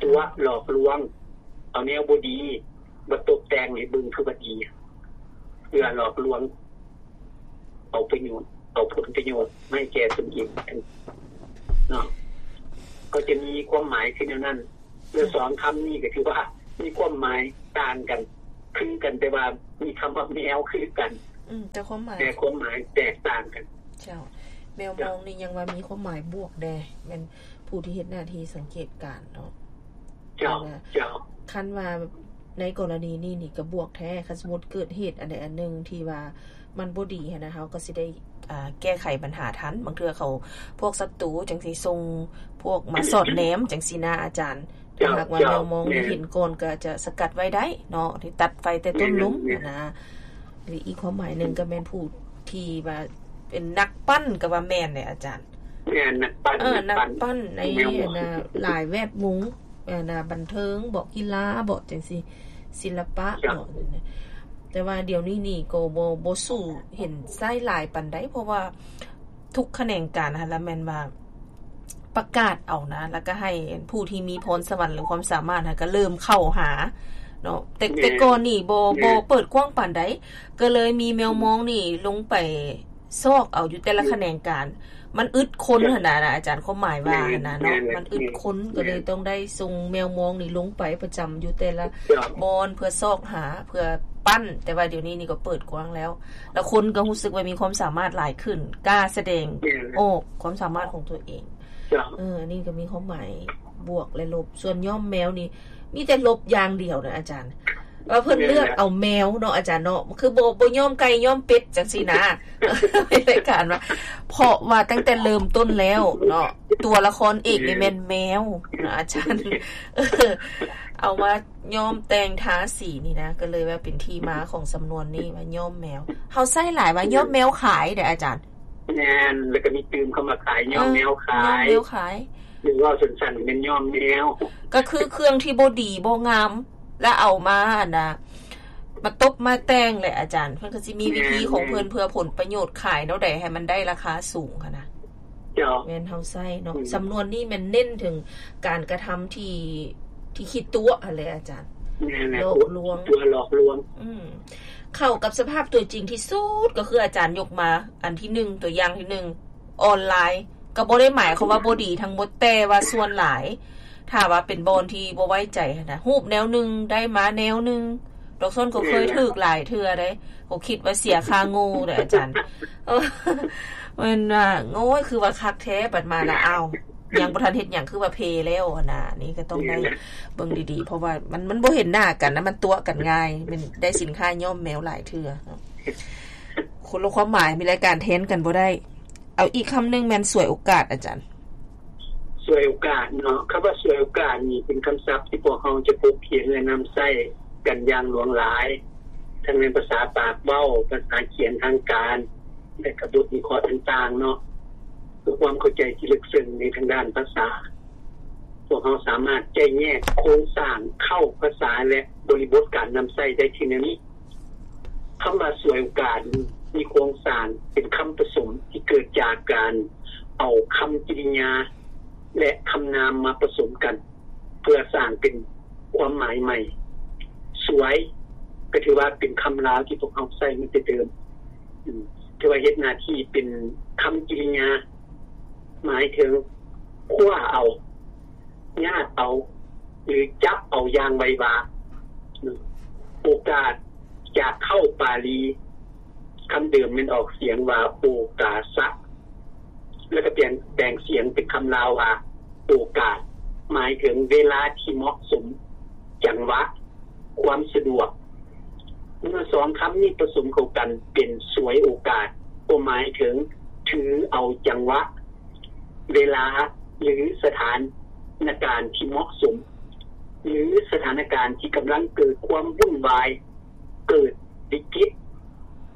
ຕົວະຫຼອກລວງ ເອົາແນວບໍ່ດີມາຕົບແຕ່ງໃຫ້ເບິ່ງຄືວ່າດີ ເພື່ອຫຼອກລວງເອົາປະໂຫຍດ ເອົາຜົນປະໂຫຍດມາໃຫ້ແກ່ຕົນເອງເນາະ ກໍຈະມີຄວາມໝາຍຄືແນວນັ້ນ. ແລະ ສອງຄຳນີ້ກໍຖືວ່າມີຄວາມໝາຍຕ່າງກັນ ຄືກັນ ແຕ່ວ່າມີຄຳວ່າແມວຄືກັນ. ອ ອືມ ແຕ່ຄວາມໝາຍ ແຕ່ຄວາມໝາຍແຕກຕ່າງກັນ. ເຈົ້າ ແມວມອງນີ້ຍັງວ່າມີຄວາມໝາຍບວກແດ່ ແມ່ນຜູ້ທີ່ເຮັດໜ້າທີ່ສັງເກດການເນາະ. ເຈົ້າ ເຈົ້າ ເຈົ້າ ຄັນວ່າໃນກໍລະນີນີ້ນີ້ກໍບວກແທ້. ຄັນສົມມຸດເກີດເຫດອັນໃດອັນໜຶ່ງທີ່ວ່າມັນບໍ່ດີຫັ້ນນະ ເຮົາກໍຊິໄດ້ ອ່າ ແກ້ໄຂບັນຫາທັນ. ບາງເທື່ອເຂົາ ພວກສັດຕູຈັ່ງຊິສົ່ງພວກມາສອດແນມຈັ່ງຊີ້ນະອາຈານ. ເຈົ້າ ຖ້າຫາກວ່າແມວມອງນີ້ເຫັນກ່ອນ ກໍຈະສະກັດໄວ້ໄດ້ເນາະ ທີ່ຕັດໄຟແຕ່ຕົ້ນລົມຫັ້ນນະ. ແມ່ນໆ ຫຼືອີກຄວາມໝາຍໜຶ່ງກໍແມ່ນຜູ້ທີ່ວ່າເປັນນັກປັ້ນ ກໍວ່າແມ່ນເດ້ອາຈານ. ແມ່ນ ນັກປັ້ນ ເອີ ນັກປັ້ນ ນັກປັ້ນໃນ ແມ່ນ ອັນນະ ຫຼາຍແວດວົງ ອັນນະ ບັນເທີງເບາະ ກິລາເບາະ ຈັ່ງຊີ້ ສິລະປະ ເຈົ້າ ເບາະ. ແຕ່ວ່າດຽວນີ້ນີ້ກໍບໍ່ ບໍ່ສູ້ເຫັນໃຊ້ຫຼາຍປານໃດ ເພາະວ່າທຸກຂະແໜງການຫັ້ນລະແມ່ນວ່າ ປະກາດເອົານະ ແລ້ວກໍໃຫ້ຜູ້ທີ່ມີພອນສະຫວັນ ຫຼື ຄວາມສາມາດຫັ້ນກໍເລີ່ມເຂົ້າຫາເນາະ. ແຕ່ ແມ່ນ ແຕ່ກ່ອນນີ້ບໍ່ ແມ່ນ ບໍ່ເປີດກວ້າງປານໃດ ກໍເລີຍມີແມວມອງນີ້ລົງໄປຊອກເອົາຢູ່ແຕ່ລະ ແມ່ນ ຂະແໜງການ. ມັນອຶດຄົນ ເຈົ້າ ຫັ້ນນະ ອາຈານ ຄວາມໝາຍວ່າ ແມ່ນ ຫັ້ນນະເນາະ ແມ່ນ ມັນອຶດຄົນ ແມ່ນ ກໍເລີຍຕ້ອງໄດ້ສົ່ງແມວມອງນີ້ລົງໄປປະຈຳຢູ່ແຕ່ລະ ເຈົ້າ ບ່ອນ ເພື່ອຊອກຫາ ເພື່ອປັ້ນ. ແຕ່ວ່າດຽວນີ້ນີ້ກໍເປີດກວ້າງແລ້ວ ແລ້ວຄົນກໍຮູ້ສຶກວ່າມີຄວາມສາມາດຫຼາຍຂຶ້ນ ກ້າສະແດງ ແມ່ນ ອອກຄວາມສາມາດຂອງຕົວເອງ. ເຈົ້າ ເອີ ອັນນີ້ກໍມີຄວາມໝາຍບວກ ແລະ ລົບ. ສ່ວນຍ້ອມແມວນີ້ ມີແຕ່ລົບຢ່າງດຽວນະອາຈານ ວ່າເພິ່ນ ແມ່ນ ເລືອກເອົາແມວເນາະອາຈານເນາະ ຄືບໍ່ ບໍ່ຍ້ອມໄກ່ຍ້ອມເປັດຈັ່ງຊີ້ນະ ໃນລາຍການວ່າ ເພາະວ່າຕັ້ງແຕ່ເລີ່ມຕົ້ນແລ້ວເນາະ ຕົວລະຄອນເອກນີ້ແມ່ນແມວນະອາຈານ. ເອີ ເອົາມາ ຍ້ອມແຕ່ງທາສີນີ້ນະ ກໍເລີຍວ່າເປັນທີ່ມາຂອງສຳນວນນີ້ວ່າຍ້ອມແມວ. ເຮົາໃຊ້ຫຼາຍວ່າຍ້ອມແມວຂາຍເດ້ອາຈານ. ແມ່ນ ແລ້ວກໍມີຕື່ມເຂົ້າມາຂາຍ ຍ້ອມແມວຂາຍ ເອີ ຍ້ອມແມວຂາຍ ຫຼືເວົ້າສັ້ນໆແມ່ນຍ້ອມແມວ ກໍຄືເຄື່ອງທີ່ບໍ່ດີບໍ່ງາມ ແລ້ວເອົາມາ ອັນນະ ມາຕົບມາແຕ່ງແຫຼະອາຈານ. ເພິ່ນກໍຊິມີວິທີຂອງເພິ່ນ ແມ່ນ ເພື່ອຜົນປະໂຫຍດ ຂາຍແນວໃດໃຫ້ມັນໄດ້ລາຄາສູງຫັ້ນນະ. ເຈົ້າ ແມ່ນເຮົາໃຊ້ເນາະ ອືມ ສຳນວນນີ້ແມ່ນເນັ້ນເຖິງການກະທຳທີ່ ທີ່ຂີ້ຕົວະຫັ້ນແຫຼະອາຈານ. ແມ່ນແຫຼະ ຫຼອກລວງ ຕົວະຫຼອກລວງ. ອືມ ເຂົ້າກັບສະພາບຕົວຈິງທີ່ສຸດ ກໍຄືອາຈານຍົກມາອັນທີໜຶ່ງ ຕົວຢ່າງທີໜຶ່ງ ອອນລາຍ ກໍບໍ່ໄດ້ໝາຍຄວາມວ່າບໍ່ດີທັງໝົດ ແຕ່ວ່າສ່ວນຫຼາຍ ຖ້າວ່າເປັນບ່ອນທີ່ບໍ່ໄວ້ໃຈຫັ້ນນະ ຮູບແນວໜຶ່ງ ໄດ້ມາແນວໜຶ່ງ. ດອກຊອນກໍເຄີຍຖືກຫຼາຍເທື່ອເດ້ ກໍຄິດວ່າເສຍຄ່າໂງ່ເດ້ອາຈານ. ເອີ ແມ່ນວ່າ ໂອ້ຍ ຄືວ່າຄັກແທ້ ບັດມາລະ ອ້າວ ຍັງບໍ່ທັນເຮັດຫຍັງ ຄືວ່າເພແລ້ວຫັ້ນນະ. ນີ້ກໍຕ້ອງໄດ້ເບິ່ງດີໆ ເພາະວ່າມັນ ມັນບໍ່ເຫັນໜ້າກັນນະ ມັນຕົວະກັນງ່າຍ. ແມ່ນໄດ້ສິນຄ້າຍ້ອມແມວຫຼາຍເທື່ອເນາະ ຄົນລະຄວາມໝາຍ ມີລາຍການແທນກັນບໍ່ໄດ້. ເອົາອີກຄຳໜຶ່ງແມ່ນສວຍໂອກາດອາຈານ. ສວຍໂອກາດເນາະ ຄຳວ່າສວຍໂອກາດນີ້ເປັນຄຳສັບທີ່ພວກເຮົາຈະພົບເຫັນ ແລະ ນຳໃຊ້ກັນຢ່າງຫຼວງຫຼາຍ ທັງໃນພາສາປາກເວົ້າ, ພາສາຂຽນທາງການ ແລະ ກະບົດວິເຄາະຕ່າງໆເນາະ. ເພື່ອຄວາມເຂົ້າໃຈທີ່ເລິກເຊິ່ງໃນທາງດ້ານພາສາ, ພວກເຮົາສາມາດແຈກແຍກໂຄງສ້າງເຄົ້າພາສາ ແລະ ບໍລິບົດການນຳໃຊ້ໄດ້ຄືແນວນີ້. ຄຳວ່າສວຍໂອກາດມີໂຄງສ້າງເປັນຄຳປະສົມທີ່ເກີດຈາກການເອົາຄຳກິລິຍາ ແລະ ຄຳນາມມາປະສົມກັນ ເພື່ອສ້າງເປັນຄວາມໝາຍໃໝ່. ສວຍ ກໍຖືວ່າເປັນຄຳລາວທີ່ພວກເຮົາໃຊ້ມາແຕ່ເດີມ ອືມ ຖືວ່າເຮັດໜ້າທີ່ເປັນຄຳກິລິຍາ ໝາຍເຖິງຄວ້າເອົາ, ຍາດເອົາ ຫຼື ຈັບເອົາຢ່າງໄວວາ. ໂອກາດ ຈາກເຄົ້າປາລີ ຄຳເດີມແມ່ນອອກສຽງວ່າໂອກາສະ ແລ້ວກໍປ່ຽນແປງສຽງເປັນຄຳລາວວ່າໂອກາດ ໝາຍເຖິງເວລາທີ່ເໝາະສົມ, ຈັງຫວະ, ຄວາມສະດວກ. ເມື່ອສອງຄຳນີ້ປະສົມເຂົ້າກັນເປັນສວຍໂອກາດ ກໍໝາຍເຖິງຖືເອົາຈັງຫວະ, ເວລາ ຫຼື ສະຖານະການທີ່ເໝາະສົມ ຫຼື ສະຖານະການທີ່ກຳລັງເກີດຄວາມວຸ່ນວາຍ, ເກີດວິກິດ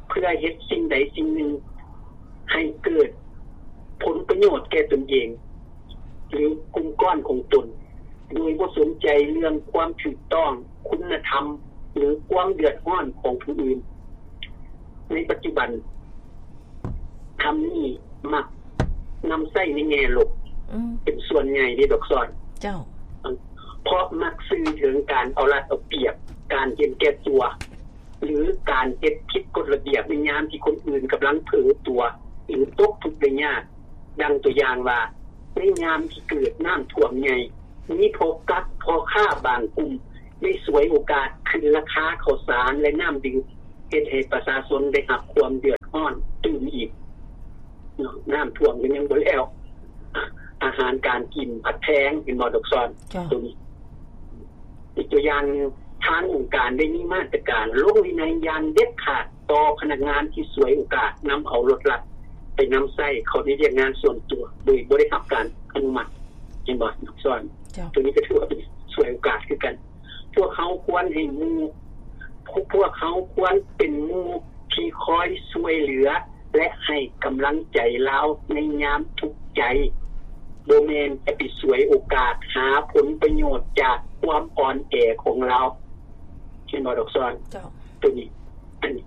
ເພື່ອເຮັດສິ່ງໃດສິ່ງໜຶ່ງໃຫ້ເກີດຜົນປະໂຫຍດແກ່ຕົນເອງ ຫຼື ກຸ່ມກ້ອນຂອງຕົນ ໂດຍບໍ່ສົນໃຈເລື່ອງຄວາມຖືກຕ້ອງ, ຄຸນນະທຳ ຫຼື ຄວາມເດືອດຮ້ອນຂອງຜູ້ອື່ນ. ໃນປັດຈຸບັນ ຄຳນີ້ມັກນຳໃຊ້ໃນແງ່ລົບ ອືມ ເປັນສ່ວນໃຫຍ່ເດ້ ດອກຊອນ. ເຈົ້າ. ເພາະມັກສື່ເຖິງການເອົາລັດເອົາປຽບ, ການເຫັນແກ່ຕົວ ຫຼື ການເຮັດຜິດກົດລະບຽບໃນຍາມທີ່ຄົນອື່ນກຳລັງເຜີຕົວ ຫຼື ຕົກທຸກໄດ້ຍາກ. ດັ່ງຕົວຢ່າງວ່າ ໃນຍາມທີ່ເກີດນ້ຳຖ້ວມໃຫຍ່, ມີພໍ່ກັກ ພໍ່ຄ້າບາງກຸ່ມໄດ້ສວຍໂອກາດຂຶ້ນລາຄາເຂົ້າສານ ແລະ ນ້ຳດື່ມ ເຮັດໃຫ້ປະຊາຊົນໄດ້ຮັບຄວາມເດືອດຮ້ອນຕື່ມອີກເນາະ. ນ້ຳຖ້ວມກໍຍັງບໍ່ແລ້ວ ອາຫານການກິນພັດແພງ ເຫັນບໍ່ດອກຊອນ? ເຈົ້າ. ໂຕນີ້ ອີກຕົວຢ່າງ ທາງອົງການໄດ້ມີມາດຕະການລົງວິໄນຢ່າງເດັດຂາດຕໍ່ພະນັກງານທີ່ສວຍໂອກາດນຳເອົາລົດລັດໄປນຳໃຊ້ເຂົ້າໃນວຽກງານສ່ວນຕົວ ໂດຍບໍ່ໄດ້ຮັບການອະນຸມັດ ເຫັນບໍ່ດອກຊອນ? ເຈົ້າ. ໂຕນີ້ກໍຖືວ່າເປັນສວຍໂອກາດຄືກັນ. ພວກເຮົາຄວນໃຫ້ໝູ່ ພວກເຮົາຄວນເປັນໝູ່ທີ່ຄອຍຊ່ວຍເຫຼືອ ແລະ ໃຫ້ກຳລັງໃຈລາວໃນຍາມທຸກໃຈ, ບໍ່ແມ່ນຈະໄປສວຍໂອກາດຫາຜົນປະໂຫຍດຈາກຄວາມອ່ອນແອຂອງລາວ. ເຫັນບໍ່ດອກຊອນ? ເຈົ້າ. ໂຕນີ້ ອັນນີ້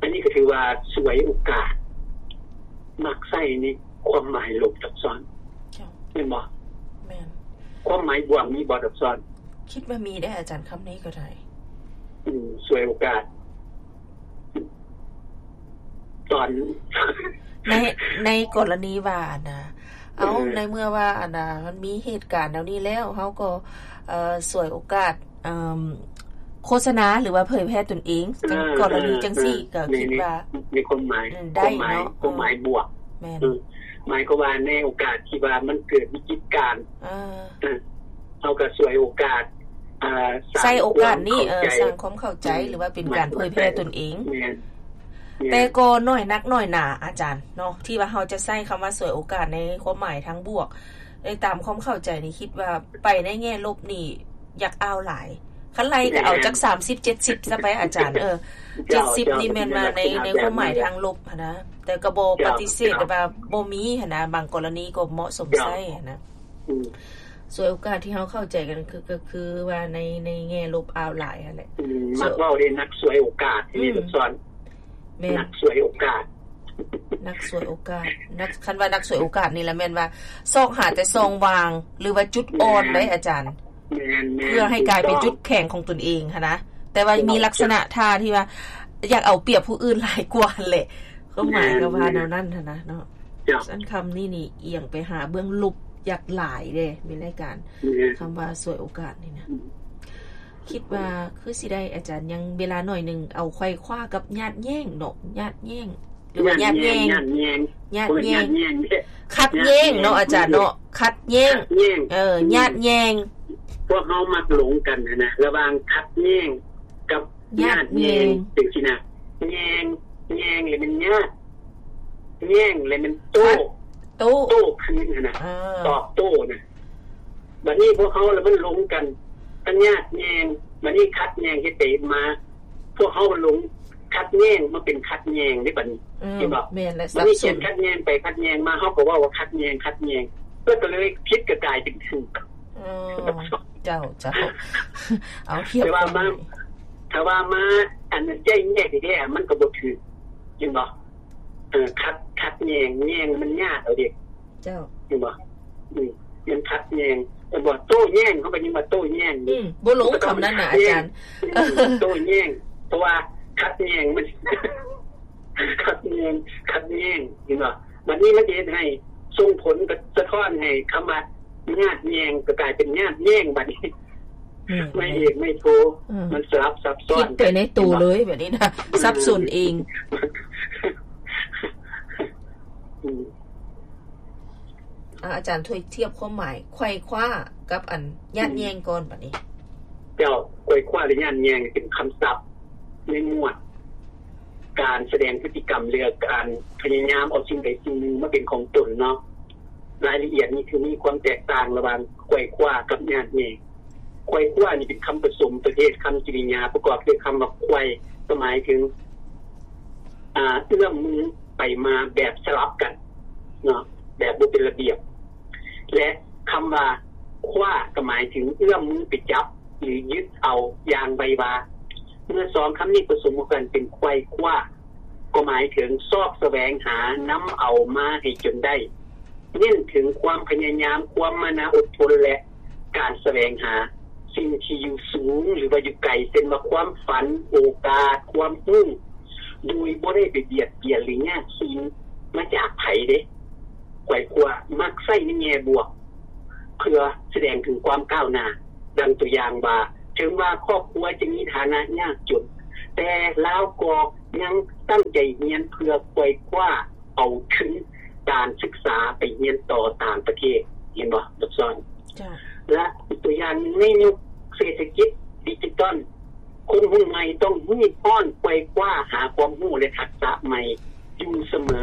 ອັນນີ້ກໍຖືວ່າສວຍໂອກາດ, ມັກໃຊ້ໃນຄວາມໝາຍລົບດອກຊອນ. ເຈົ້າ. ແມ່ນບໍ່? ແມ່ນ. ຄວາມໝາຍບວກມີບໍ່ດອກຊອນ? ຄິດວ່າມີເດ້ອາຈານ, ຄຳນີ້ກໍໄດ້. ອືມ ສວຍໂອກາດ ຕອນ ໃນ ໃນກໍລະນີວ່າ ອັນນ່າ ເອົາ ເອີ ໃນເມື່ອວ່າ ອັນນ່າ ມັນມີເຫດການແນວນີ້ແລ້ວ ເຮົາກໍ ເອີ ສວຍໂອກາດ ເອີ ໂຄສະນາ ຫຼືວ່າເຜີຍແຜ່ຕົນເອງ ເອີ ກໍລະນີ ເອີ ຈັ່ງຊີ້ ເອີ ກໍຄິດວ່າ ໃນ ໃນຄວາມໝາຍ ເອີ ໄດ້ເນາະ ຄວາມໝາຍ ຄວາມໝາຍບວກ. ແມ່ນ. ເອີ ໝາຍຄວາມວ່າໃນໂອກາດທີ່ວ່າມັນເກີດວິກິດການ ເອີ ເອີ ເຮົາກໍສວຍໂອກາດ ເອີ ສ້າງ ໃຊ້ໂອກາດນີ້ ຄວາມເຂົ້າໃຈ ເອີ ສ້າງຄວາມເຂົ້າໃຈ ອືມ ຫຼືວ່າເປັນການເຜີຍແຜ່ຕົນເອງ. ແມ່ນ. ແມ່ນ. ແຕ່ກໍໜ້ອຍນັກໜ້ອຍໜາອາຈານເນາະ ທີ່ວ່າເຮົາຈະໃຊ້ຄຳວ່າສວຍໂອກາດໃນຄວາມໝາຍທາງບວກ. ໃນຕາມຄວາມເຂົ້າໃຈນີ້ ຄິດວ່າໄປໃນແງ່ລົບນີ້ ຢາກອາວຫຼາຍ. ຄັນໄລ່ກໍເອົາຈັກສາມສິບ ເຈັດສິບຊະໄປອາຈານ. ເອີ ເຈັດສິບນີ້ແມ່ນວ່າໃນ ໃນຄວາມໝາຍທາງລົບຫັ້ນນະ ແຕ່ກໍບໍ່ປະຕິເສດວ່າບໍ່ມີຫັ້ນນະ ບາງກໍລະນີກໍເໝາະສົມໃຊ້ຫັ້ນນະ. ອືມ ສວຍໂອກາດທີ່ເຮົາເຂົ້າໃຈກັນ ຄື ກໍຄືວ່າໃນ ໃນແງ່ລົບອາວຫຼາຍຫັ້ນແຫຼະ. ອືມ ມັກເວົ້າເດ້ ນັກສວຍໂອກາດ ອືມ ທີ່ນີ້ ສອນ ແມ່ນ ນັກສວຍໂອກາດ ນັກສວຍໂອກາດ ນັກ ຄັນວ່ານັກສວຍໂອກາດນີ້ລະແມ່ນວ່າຊອກຫາແຕ່ຊ່ອງວ່າງ ຫຼືວ່າຈຸດອ່ອນ ແມ່ນ ໄດ້ອາຈານ. ແມ່ນໆ ເພື່ອໃຫ້ກາຍເປັນຈຸດແຂງຂອງຕົນເອງຫັ້ນນະ ແຕ່ວ່າມີລັກສະນະທ່າທີ່ວ່າຢາກເອົາປຽບຜູ້ອື່ນຫຼາຍກວ່າຫັ້ນແຫຼະ ຄວາມໝາຍກໍວ່າແນວນັ້ນຫັ້ນນະເນາະ. ເຈົ້າ. ຊັ້ນຄຳນີ້ນີ້ອຽງໄປຫາເບື້ອງລົບຢ່າງຫຼາຍເດ້ ມີລາຍການ ແມ່ນ ຄຳວ່າສວຍໂອກາດນີ້ນະ. ອືມ ຄິດວ່າຄືຊິໄດ້ ອາຈານຍັງເວລາໜ້ອຍໜຶ່ງ ເອົາໄຂວ້າກັບຍາດແຍ່ງເນາະ ຍາດແຍ່ງ ຫຼືວ່າຍາດແຍ່ງ ຍາດແຍ່ງ ຍາດແຍ່ງ ບໍ່ແມ່ນຍາດແຍ່ງເດ້ ຂັດແຍ່ງເນາະ ຍາດແຍ່ງ ອາຈານເນາະ ຂັດແຍ່ງ ຍາດແຍ່ງ ເອີ ຍາດແຍ່ງ ພວກເຮົາມັກຫຼົງກັນຫັ້ນນະ ລະຫວ່າງຂັດແຍ່ງກັບຍາດແຍ່ງ ຍາດແຍ່ງ ຈັ່ງຊີ້ນະ. ແຍ່ງ ແຍ່ງ ແລ້ວແມ່ນຍາດ ແຍ່ງ ແລ້ວແມ່ນໂຕ້ ຂັດ ໂຕ້ ໂຕ້ຄືນຫັ້ນນະ ເອີ ຕອບໂຕ້ນະ. ບັດນີ້ພວກເຮົາລະມັນຫຼົງກັນ ທັງຍາດແຍ່ງ ບັດນີ້ຂັດແຍ່ງ ເຮັດໄປເຮັດມາ ພວກເຮົາມັນຫຼົງຂັດແຍ່ງມາເປັນຂັດແຍ່ງເດ້ບັດນີ້. ອືມ ເຫັນບໍ່? ແມ່ນແຫຼະ ບັດນີ້ ສັບສົນ ຂຽນຂັດແຍ່ງໄປຂັດແຍ່ງມາ ເຮົາກໍເວົ້າວ່າຂັດແຍ່ງ ຂັດແຍ່ງ ເພິ່ນກໍເລີຍຜິດກໍກາຍເປັນຖືກ. ອໍ ເຈົ້າ ເຈົ້າ ເອົາທຽບ ແຕ່ວ່າມາ ຖ້າວ່າມາ ອັນນັ້ນໃຈແຍກແທ້ໆ ມັນກໍບໍ່ຖືກ ເຫັນບໍ່? ເອີ ຂັດ ຂັດແຍ່ງ ແຍ່ງມັນຍາດເອົາເດ້. ເຈົ້າ. ເຫັນບໍ່? ອືມ ມັນຂັດແຍ່ງ ແຕ່ບໍ່ໂຕ້ແຍ້ງ ເຮົາກໍຍັງວ່າໂຕ້ແຍ້ງຢູ່. ອືມ ບໍ່ລົງຄຳນັ້ນນະອາຈານ. ໂຕ້ແຍ້ງ ເພາະວ່າຂັດແຍ່ງມັນ ຂັດແຍ່ງ ຂັດແຍ່ງ ເຫັນບໍ່? ບັດນີ້ມັນຊິເຮັດໃຫ້ສົ່ງຜົນສະທ້ອນໃຫ້ຄຳວ່າຍາດແຍ່ງ ກໍກາຍເປັນຍາດແຍ່ງບັດນີ້. ແມ່ນໆ ໄມ້ເອກໄມ້ໂທ ເອີ ມັນສະຫຼັບຊັບຊ້ອນ ຄິດໄປໃນໂຕເລີຍບັດນີ້ນະ ສັບສົນເອງ. ອືມ ອາ ອາຈານຊ່ວຍທຽບຄວາມໝາຍໄຂວ້າຄວ້າກັບອັນຍາດແຍ່ງກ່ອນບັດນີ້. ເຈົ້າ ໄຂວ້າຄວ້າ ຫຼື ຍາດແຍ່ງ ເປັນຄຳສັບໃນໝວດການສະແດງພຶດຕິກຳ ຫຼື ການພະຍາຍາມເອົາສິ່ງໃດສິ່ງໜຶ່ງມາເປັນຂອງຕົນເນາະ. ລາຍລະອຽດນີ້ຄືມີຄວາມແຕກຕ່າງລະຫວ່າງໄຂວ້າຄວ້າກັບຍາດແຍ່ງ. ໄຂວ້າຄວ້ານີ້ເປັນຄຳປະສົມປະເພດຄຳກິລິຍາປະກອບດ້ວຍຄຳວ່າໄຂວ້ ກໍໝາຍເຖິງ ອ່າ ເອື້ອມມືໄປມາແບບສະຫຼັບກັນເນາະ ແບບບໍ່ເປັນລະບຽບ ແລະ ຄຳວ່າຄວ້າກໍໝາຍເຖິງເອື້ອມມືໄປຈັບ ຫຼື ຍຶດເອົາຢ່າງໄວວາ. ເມື່ອສອງຄຳນີ້ປະສົມກັນເປັນໄຂວ້າຄວ້າ ກໍໝາຍເຖິງຊອກສະແຫວງຫານຳເອົາມາໃຫ້ຈົນໄດ້. ເນັ້ນເຖິງຄວາມພະຍາຍາມ, ຄວາມມານາອົດທົນ ແລະ ການສະແຫວງຫາສິ່ງທີ່ຢູ່ສູງ ຫຼືວ່າຢູ່ໄກ ເຊັ່ນວ່າຄວາມຝັນ, ໂອກາດ, ຄວາມຮູ້ ໂດຍບໍ່ໄດ້ໄປບຽດບຽນ ຫຼື ຍາກຊີນມາຈາກໃຜເດ້. ໄຂວ້າຄວ້າມັກໃຊ້ໃນແງ່ບວກ ເພື່ອສະແດງເຖິງຄວາມກ້າວໜ້າ. ດັ່ງຕົວຢ່າງວ່າ ເຖິງວ່າຄອບຄົວຈະມີຖານະຍາກຈົນ, ແຕ່ລາວກໍຍັງຕັ້ງໃຈຮຽນເພື່ອໄຂວ່ຄວ້າເອົາທຶນການສຶກສາໄປຮຽນຕໍ່ຕ່າງປະເທດ ເຫັນບໍ່ ດອກຊອນ? ເຈົ້າ. ແລະ ອີກຕົວຢ່າງໜຶ່ງ ໃນຍຸກເສດຖະກິດດິຈິຕອນ ຄົນຮຸ່ນໃໝ່ຕ້ອງຮີບຮ້ອນໄຂວ່ຄວ້າຫາຄວາມຮູ້ ແລະ ທັກສະໃໝ່ຢູ່ສະເໝີ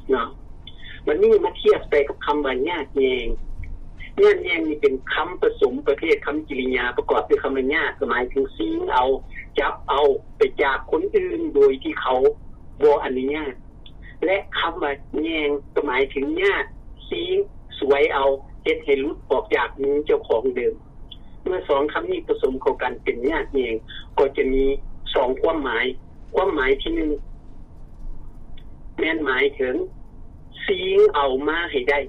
ເນາະ. ບັດນີ້ມາທຽບໃສ່ກັບຄຳວ່າຍາດແຍ່ງ. ຍາດແຍ່ງນີ້ເປັນຄຳປະສົມປະເພດຄຳກິລິຍາປະກອບດ້ວຍຄຳວ່າຍາດ ກໍໝາຍເຖິງຊິງເອົາ, ຈັບເອົາໄປຈາກຄົນອື່ນໂດຍທີ່ເຂົາບໍ່ອະນຸຍາດ. ແລະ ຄຳວ່າແຍ່ງກໍໝາຍເຖິງຍາດ, ຊິງ, ສວຍເອົາ, ເຮັດໃຫ້ຫຼຸດອອກຈາກມືເຈົ້າຂອງເດີມ. ເມື່ອສອງຄຳນີ້ປະສົມເຂົ້າກັນເປັນຍາດແຍ່ງ ກໍຈະມີສອງຄວາມໝາຍ. ຄວາມໝາຍທີໜຶ່ງ ແມ່ນໝາຍເຖິງຊິງເອົາມາໃຫ້ໄດ້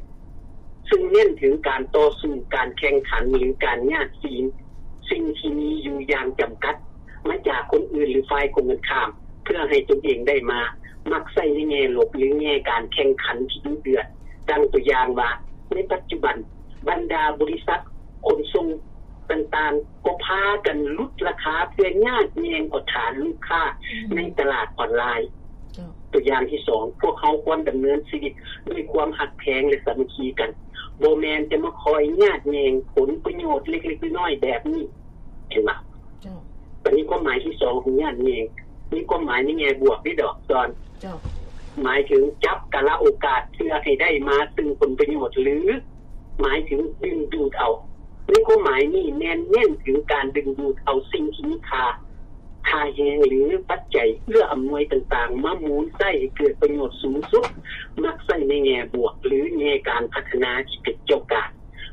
ຊຶ່ງເນັ້ນເຖິງການຕໍ່ສູ້, ການແຂ່ງຂັນ ຫຼື ການຍາດຊິງສິ່ງທີ່ມີຢູ່ຢ່າງຈຳກັດມາຈາກຄົນອື່ນ ຫຼື ຝ່າຍກົງກັນຂ້າມ ເພື່ອໃຫ້ຕົນເອງໄດ້ມາ, ມັກໃຊ້ໃນແງ່ລົບ ຫຼື ແງ່ການແຂ່ງຂັນທີ່ດຸເດືອດ. ດັ່ງຕົວຢ່າງວ່າ ໃນປັດຈຸບັນ ບັນດາບໍລິສັດຂົນສົ່ງຕ່າງໆ ກໍພາກັນຫຼຸດລາຄາເພື່ອຍາດແຍ່ງເອົາຖານລູກຄ້າ ອືມ ໃນຕະຫຼາດອອນລາຍ. ເຈົ້າ. ຕົວຢ່າງທີສອງ ພວກເຮົາຄວນດຳເນີນຊີວິດດ້ວຍຄວາມຮັກແພງ ແລະ ສາມັກຄີກັນ, ບໍ່ແມ່ນຈະມາຄອຍຍາດແຍ່ງຜົນປະໂຫຍດເລັກໆນ້ອຍໆແບບນີ້. ເຫັນບໍ່? ເຈົ້າ. ບັດນີ້ຄວາມໝາຍທີສອງຂອງຍາດແຍ່ງ ມີຄວາມໝາຍໃນແງ່ບວກເດ້ ດອກຊອນ. ເຈົ້າ. ໝາຍເຖິງຈັບກາລະໂອກາດເພື່ອໃຫ້ໄດ້ມາຊຶ່ງຜົນປະໂຫຍດ ຫຼື ໝາຍເຖິງດຶງດູດເອົາ. ໃນຄວາມໝາຍນີ້ແມ່ນເນັ້ນເຖິງການດຶງດູດເອົາສິ່ງທີ່ມີຄ່າ, ຄ່າແຮງ ຫຼື ປັດໄຈເອື້ອອຳນວຍຕ່າງໆ ມາໝູນໃຊ້ໃຫ້ເກີດປະໂຫຍດສູງສຸດ, ມັກໃຊ້ໃນແງ່ບວກ ຫຼື ແງ່ການພັດທະນາທີ່ເປັນເຈົ້າການ.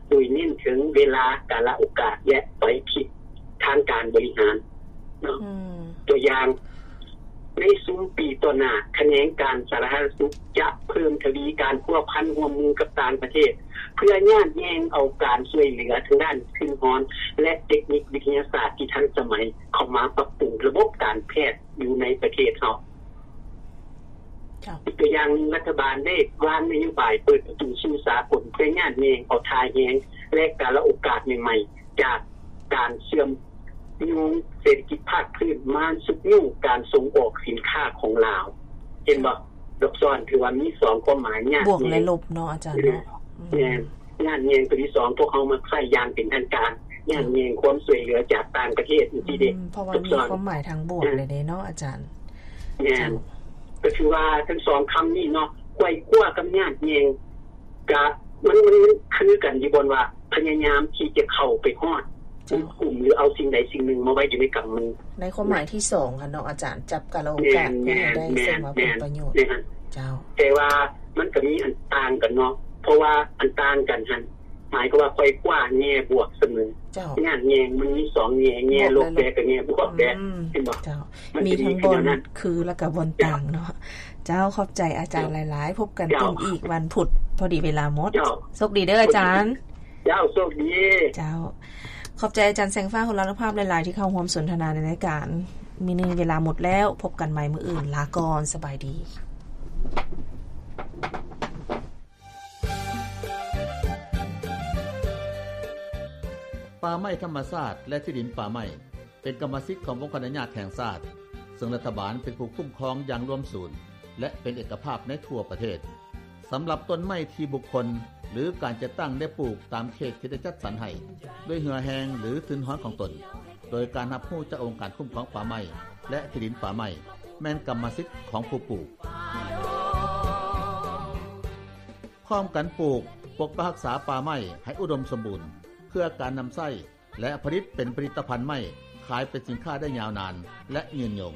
ໂດຍເນັ້ນເຖິງເວລາ, ກາລະໂອກາດ ແລະ ໄຟພິບທາງການບໍລິຫານເນາະ. ອືມ. ຕົວຢ່າງ, ໃນຊຸມປີຕໍ່ໜ້າ, ຂະແໜງການສາທາລະນະສຸກຈະເພີ່ມທະວີການພົວພັນຮ່ວມມືກັບຕ່າງປະເທດ ເພື່ອຍາດແຍ່ງເອົາການຊ່ວຍເຫຼືອທາງດ້ານທຶນຮອນ ແລະ ເຕັກນິກວິທະຍາສາດທີ່ທັນສະໄໝເຂົ້າມາປັບປຸງລະບົບການແພດຢູ່ໃນປະເທດເຮົາ. ເຈົ້າ. ອີກຕົວຢ່າງໜຶ່ງ, ລັດຖະບານໄດ້ວາງນະໂຍບາຍເປີດປະຕູສູ່ສາກົນ ເພື່ອຍາດແຍ່ງເອົາທ່າແຮງ ແລະ ກາລະໂອກາດໃໝ່ໆ ຈາກການເຊື່ອມໂຍງເສດຖະກິດພາກພື້ນ ມາຊຸກຍູ້ການສົ່ງອອກສິນຄ້າຂອງລາວ. ເຫັນບໍ່? ດອກຊອນ ຖືວ່າມີສອງຄວາມໝາຍ, ຍາດແຍ່ງ ບວກ ແລະ ລົບເນາະ ອາຈານເນາະ. ອືມ. ແມ່ນ. ຍາດແຍ່ງຕົວທີສອງ ພວກເຮົາມັກໃຊ້ຢ່າງເປັນທາງການ, ຍາດແຍ່ງຄວາມຊ່ວຍເຫຼືອຈາກຕ່າງປະເທດ ອືມ ຈັ່ງຊີ້ເດ້. ເພາະວ່າມີຄວາມໝາຍທາງບວກເລີຍເດ້ເນາະ ອາຈານ. ແມ່ນ. ເຈົ້າ. ກໍຄືວ່າທັງສອງຄຳນີ້ເນາະ, ໄຂວ່ຄວ້າກັບຍາດແຍ່ງ ກະ ມັນ ມັນ ມັນຄືກັນຢູ່ບ່ອນວ່າ ພະຍາຍາມທີ່ຈະເຂົ້າໄປຮອດ ເຈົ້າ ໃນກຸ່ມ ຫຼື ເອົາສິ່ງໃດສິ່ງໜຶ່ງມາໄວ້ຢູ່ໃນກຳມື. ໃນຄວາມໝາຍທີສອງຫັ້ນເນາະອາຈານ, ຈັບກາລະໂອກາດ ແມ່ນ ເພື່ອໃຫ້ໄດ້ ແມ່ນ ສຳລັບ ແມ່ນ ຜົນປະໂຫຍດ. ແມ່ນ. ເຈົ້າ. ແຕ່ວ່າມັນກໍມີອັນຕ່າງກັນເນາະ, ເພາະວ່າອັນຕ່າງກັນຫັ້ນ ໝາຍຄວາມວ່າໄຂວ່ຄວ້າແງ່ບວກສະເໝີ. ເຈົ້າ. ຍາດແຍ່ງມັນມີສອງແງ່, ແງ່ລົບແດ່ກັບແງ່ບວກແດ່. ອືມ. ເຫັນບໍ່? ເຈົ້າ. ມີທັງບ່ອນຄື ແລ້ວກໍບ່ອນຕ່າງເນາະ. ເຈົ້າ. ເຈົ້າ ຂອບໃຈອາຈານ ເຈົ້າ ຫຼາຍໆ. ພົບກັນ ເຈົ້າ ຕື່ມອີກວັນພຸດ, ພໍດີເວລາໝົດ. ເຈົ້າ. ໂຊກດີເດີອາຈານ. ເຈົ້າ. ໂຊກດີ. ເຈົ້າ. ຂອບໃຈອາຈານແສງຟ້າ ຫົວລານຸພາບ ຫຼາຍໆ ທີ່ເຂົ້າຮ່ວມສົນທະນາໃນລາຍການ. ມື້ນີ້ເວລາໝົດແລ້ວ, ພົບກັນໃໝ່ມື້ອື່ນ. ລາກ່ອນ, ສະບາຍດີ. ປ່າໄມ້ທຳມະຊາດ ແລະ ທີ່ດິນປ່າໄມ້ ເປັນກຳມະສິດຂອງອົງຄະອະນຸຍາດແຫ່ງຊາດ, ເຊິ່ງລັດຖະບານເປັນຜູ້ຄຸ້ມຄອງຢ່າງລວມສູນ ແລະ ເປັນເອກະພາບໃນທົ່ວປະເທດ. ສຳລັບຕົ້ນໄມ້ທີ່ບຸກຄົນ ຫຼື ການຈັດຕັ້ງໄດ້ປູກຕາມເຂດທີ່ໄດ້ຈັດສັນໃຫ້ ດ້ວຍເຫື່ອແຮງ ຫຼື ທຶນຮອນຂອງຕົນ, ໂດຍການຮັບຮູ້ຈາກອົງການຄຸ້ມຄອງປ່າໄມ້ ແລະ ທີ່ດິນປ່າໄມ້ ແມ່ນກຳມະສິດຂອງຜູ້ປູກ. ພ້ອມກັນປູກ, ປົກປັກຮັກສາປ່າໄມ້ໃຫ້ອຸດົມສົມບູນ ເພື່ອການນຳໃຊ້ ແລະ ຜະລິດເປັນຜະລິດຕະພັນໄມ້ ຂາຍເປັນສິນຄ້າໄດ້ຍາວນານ ແລະ ຍືນຍົງ.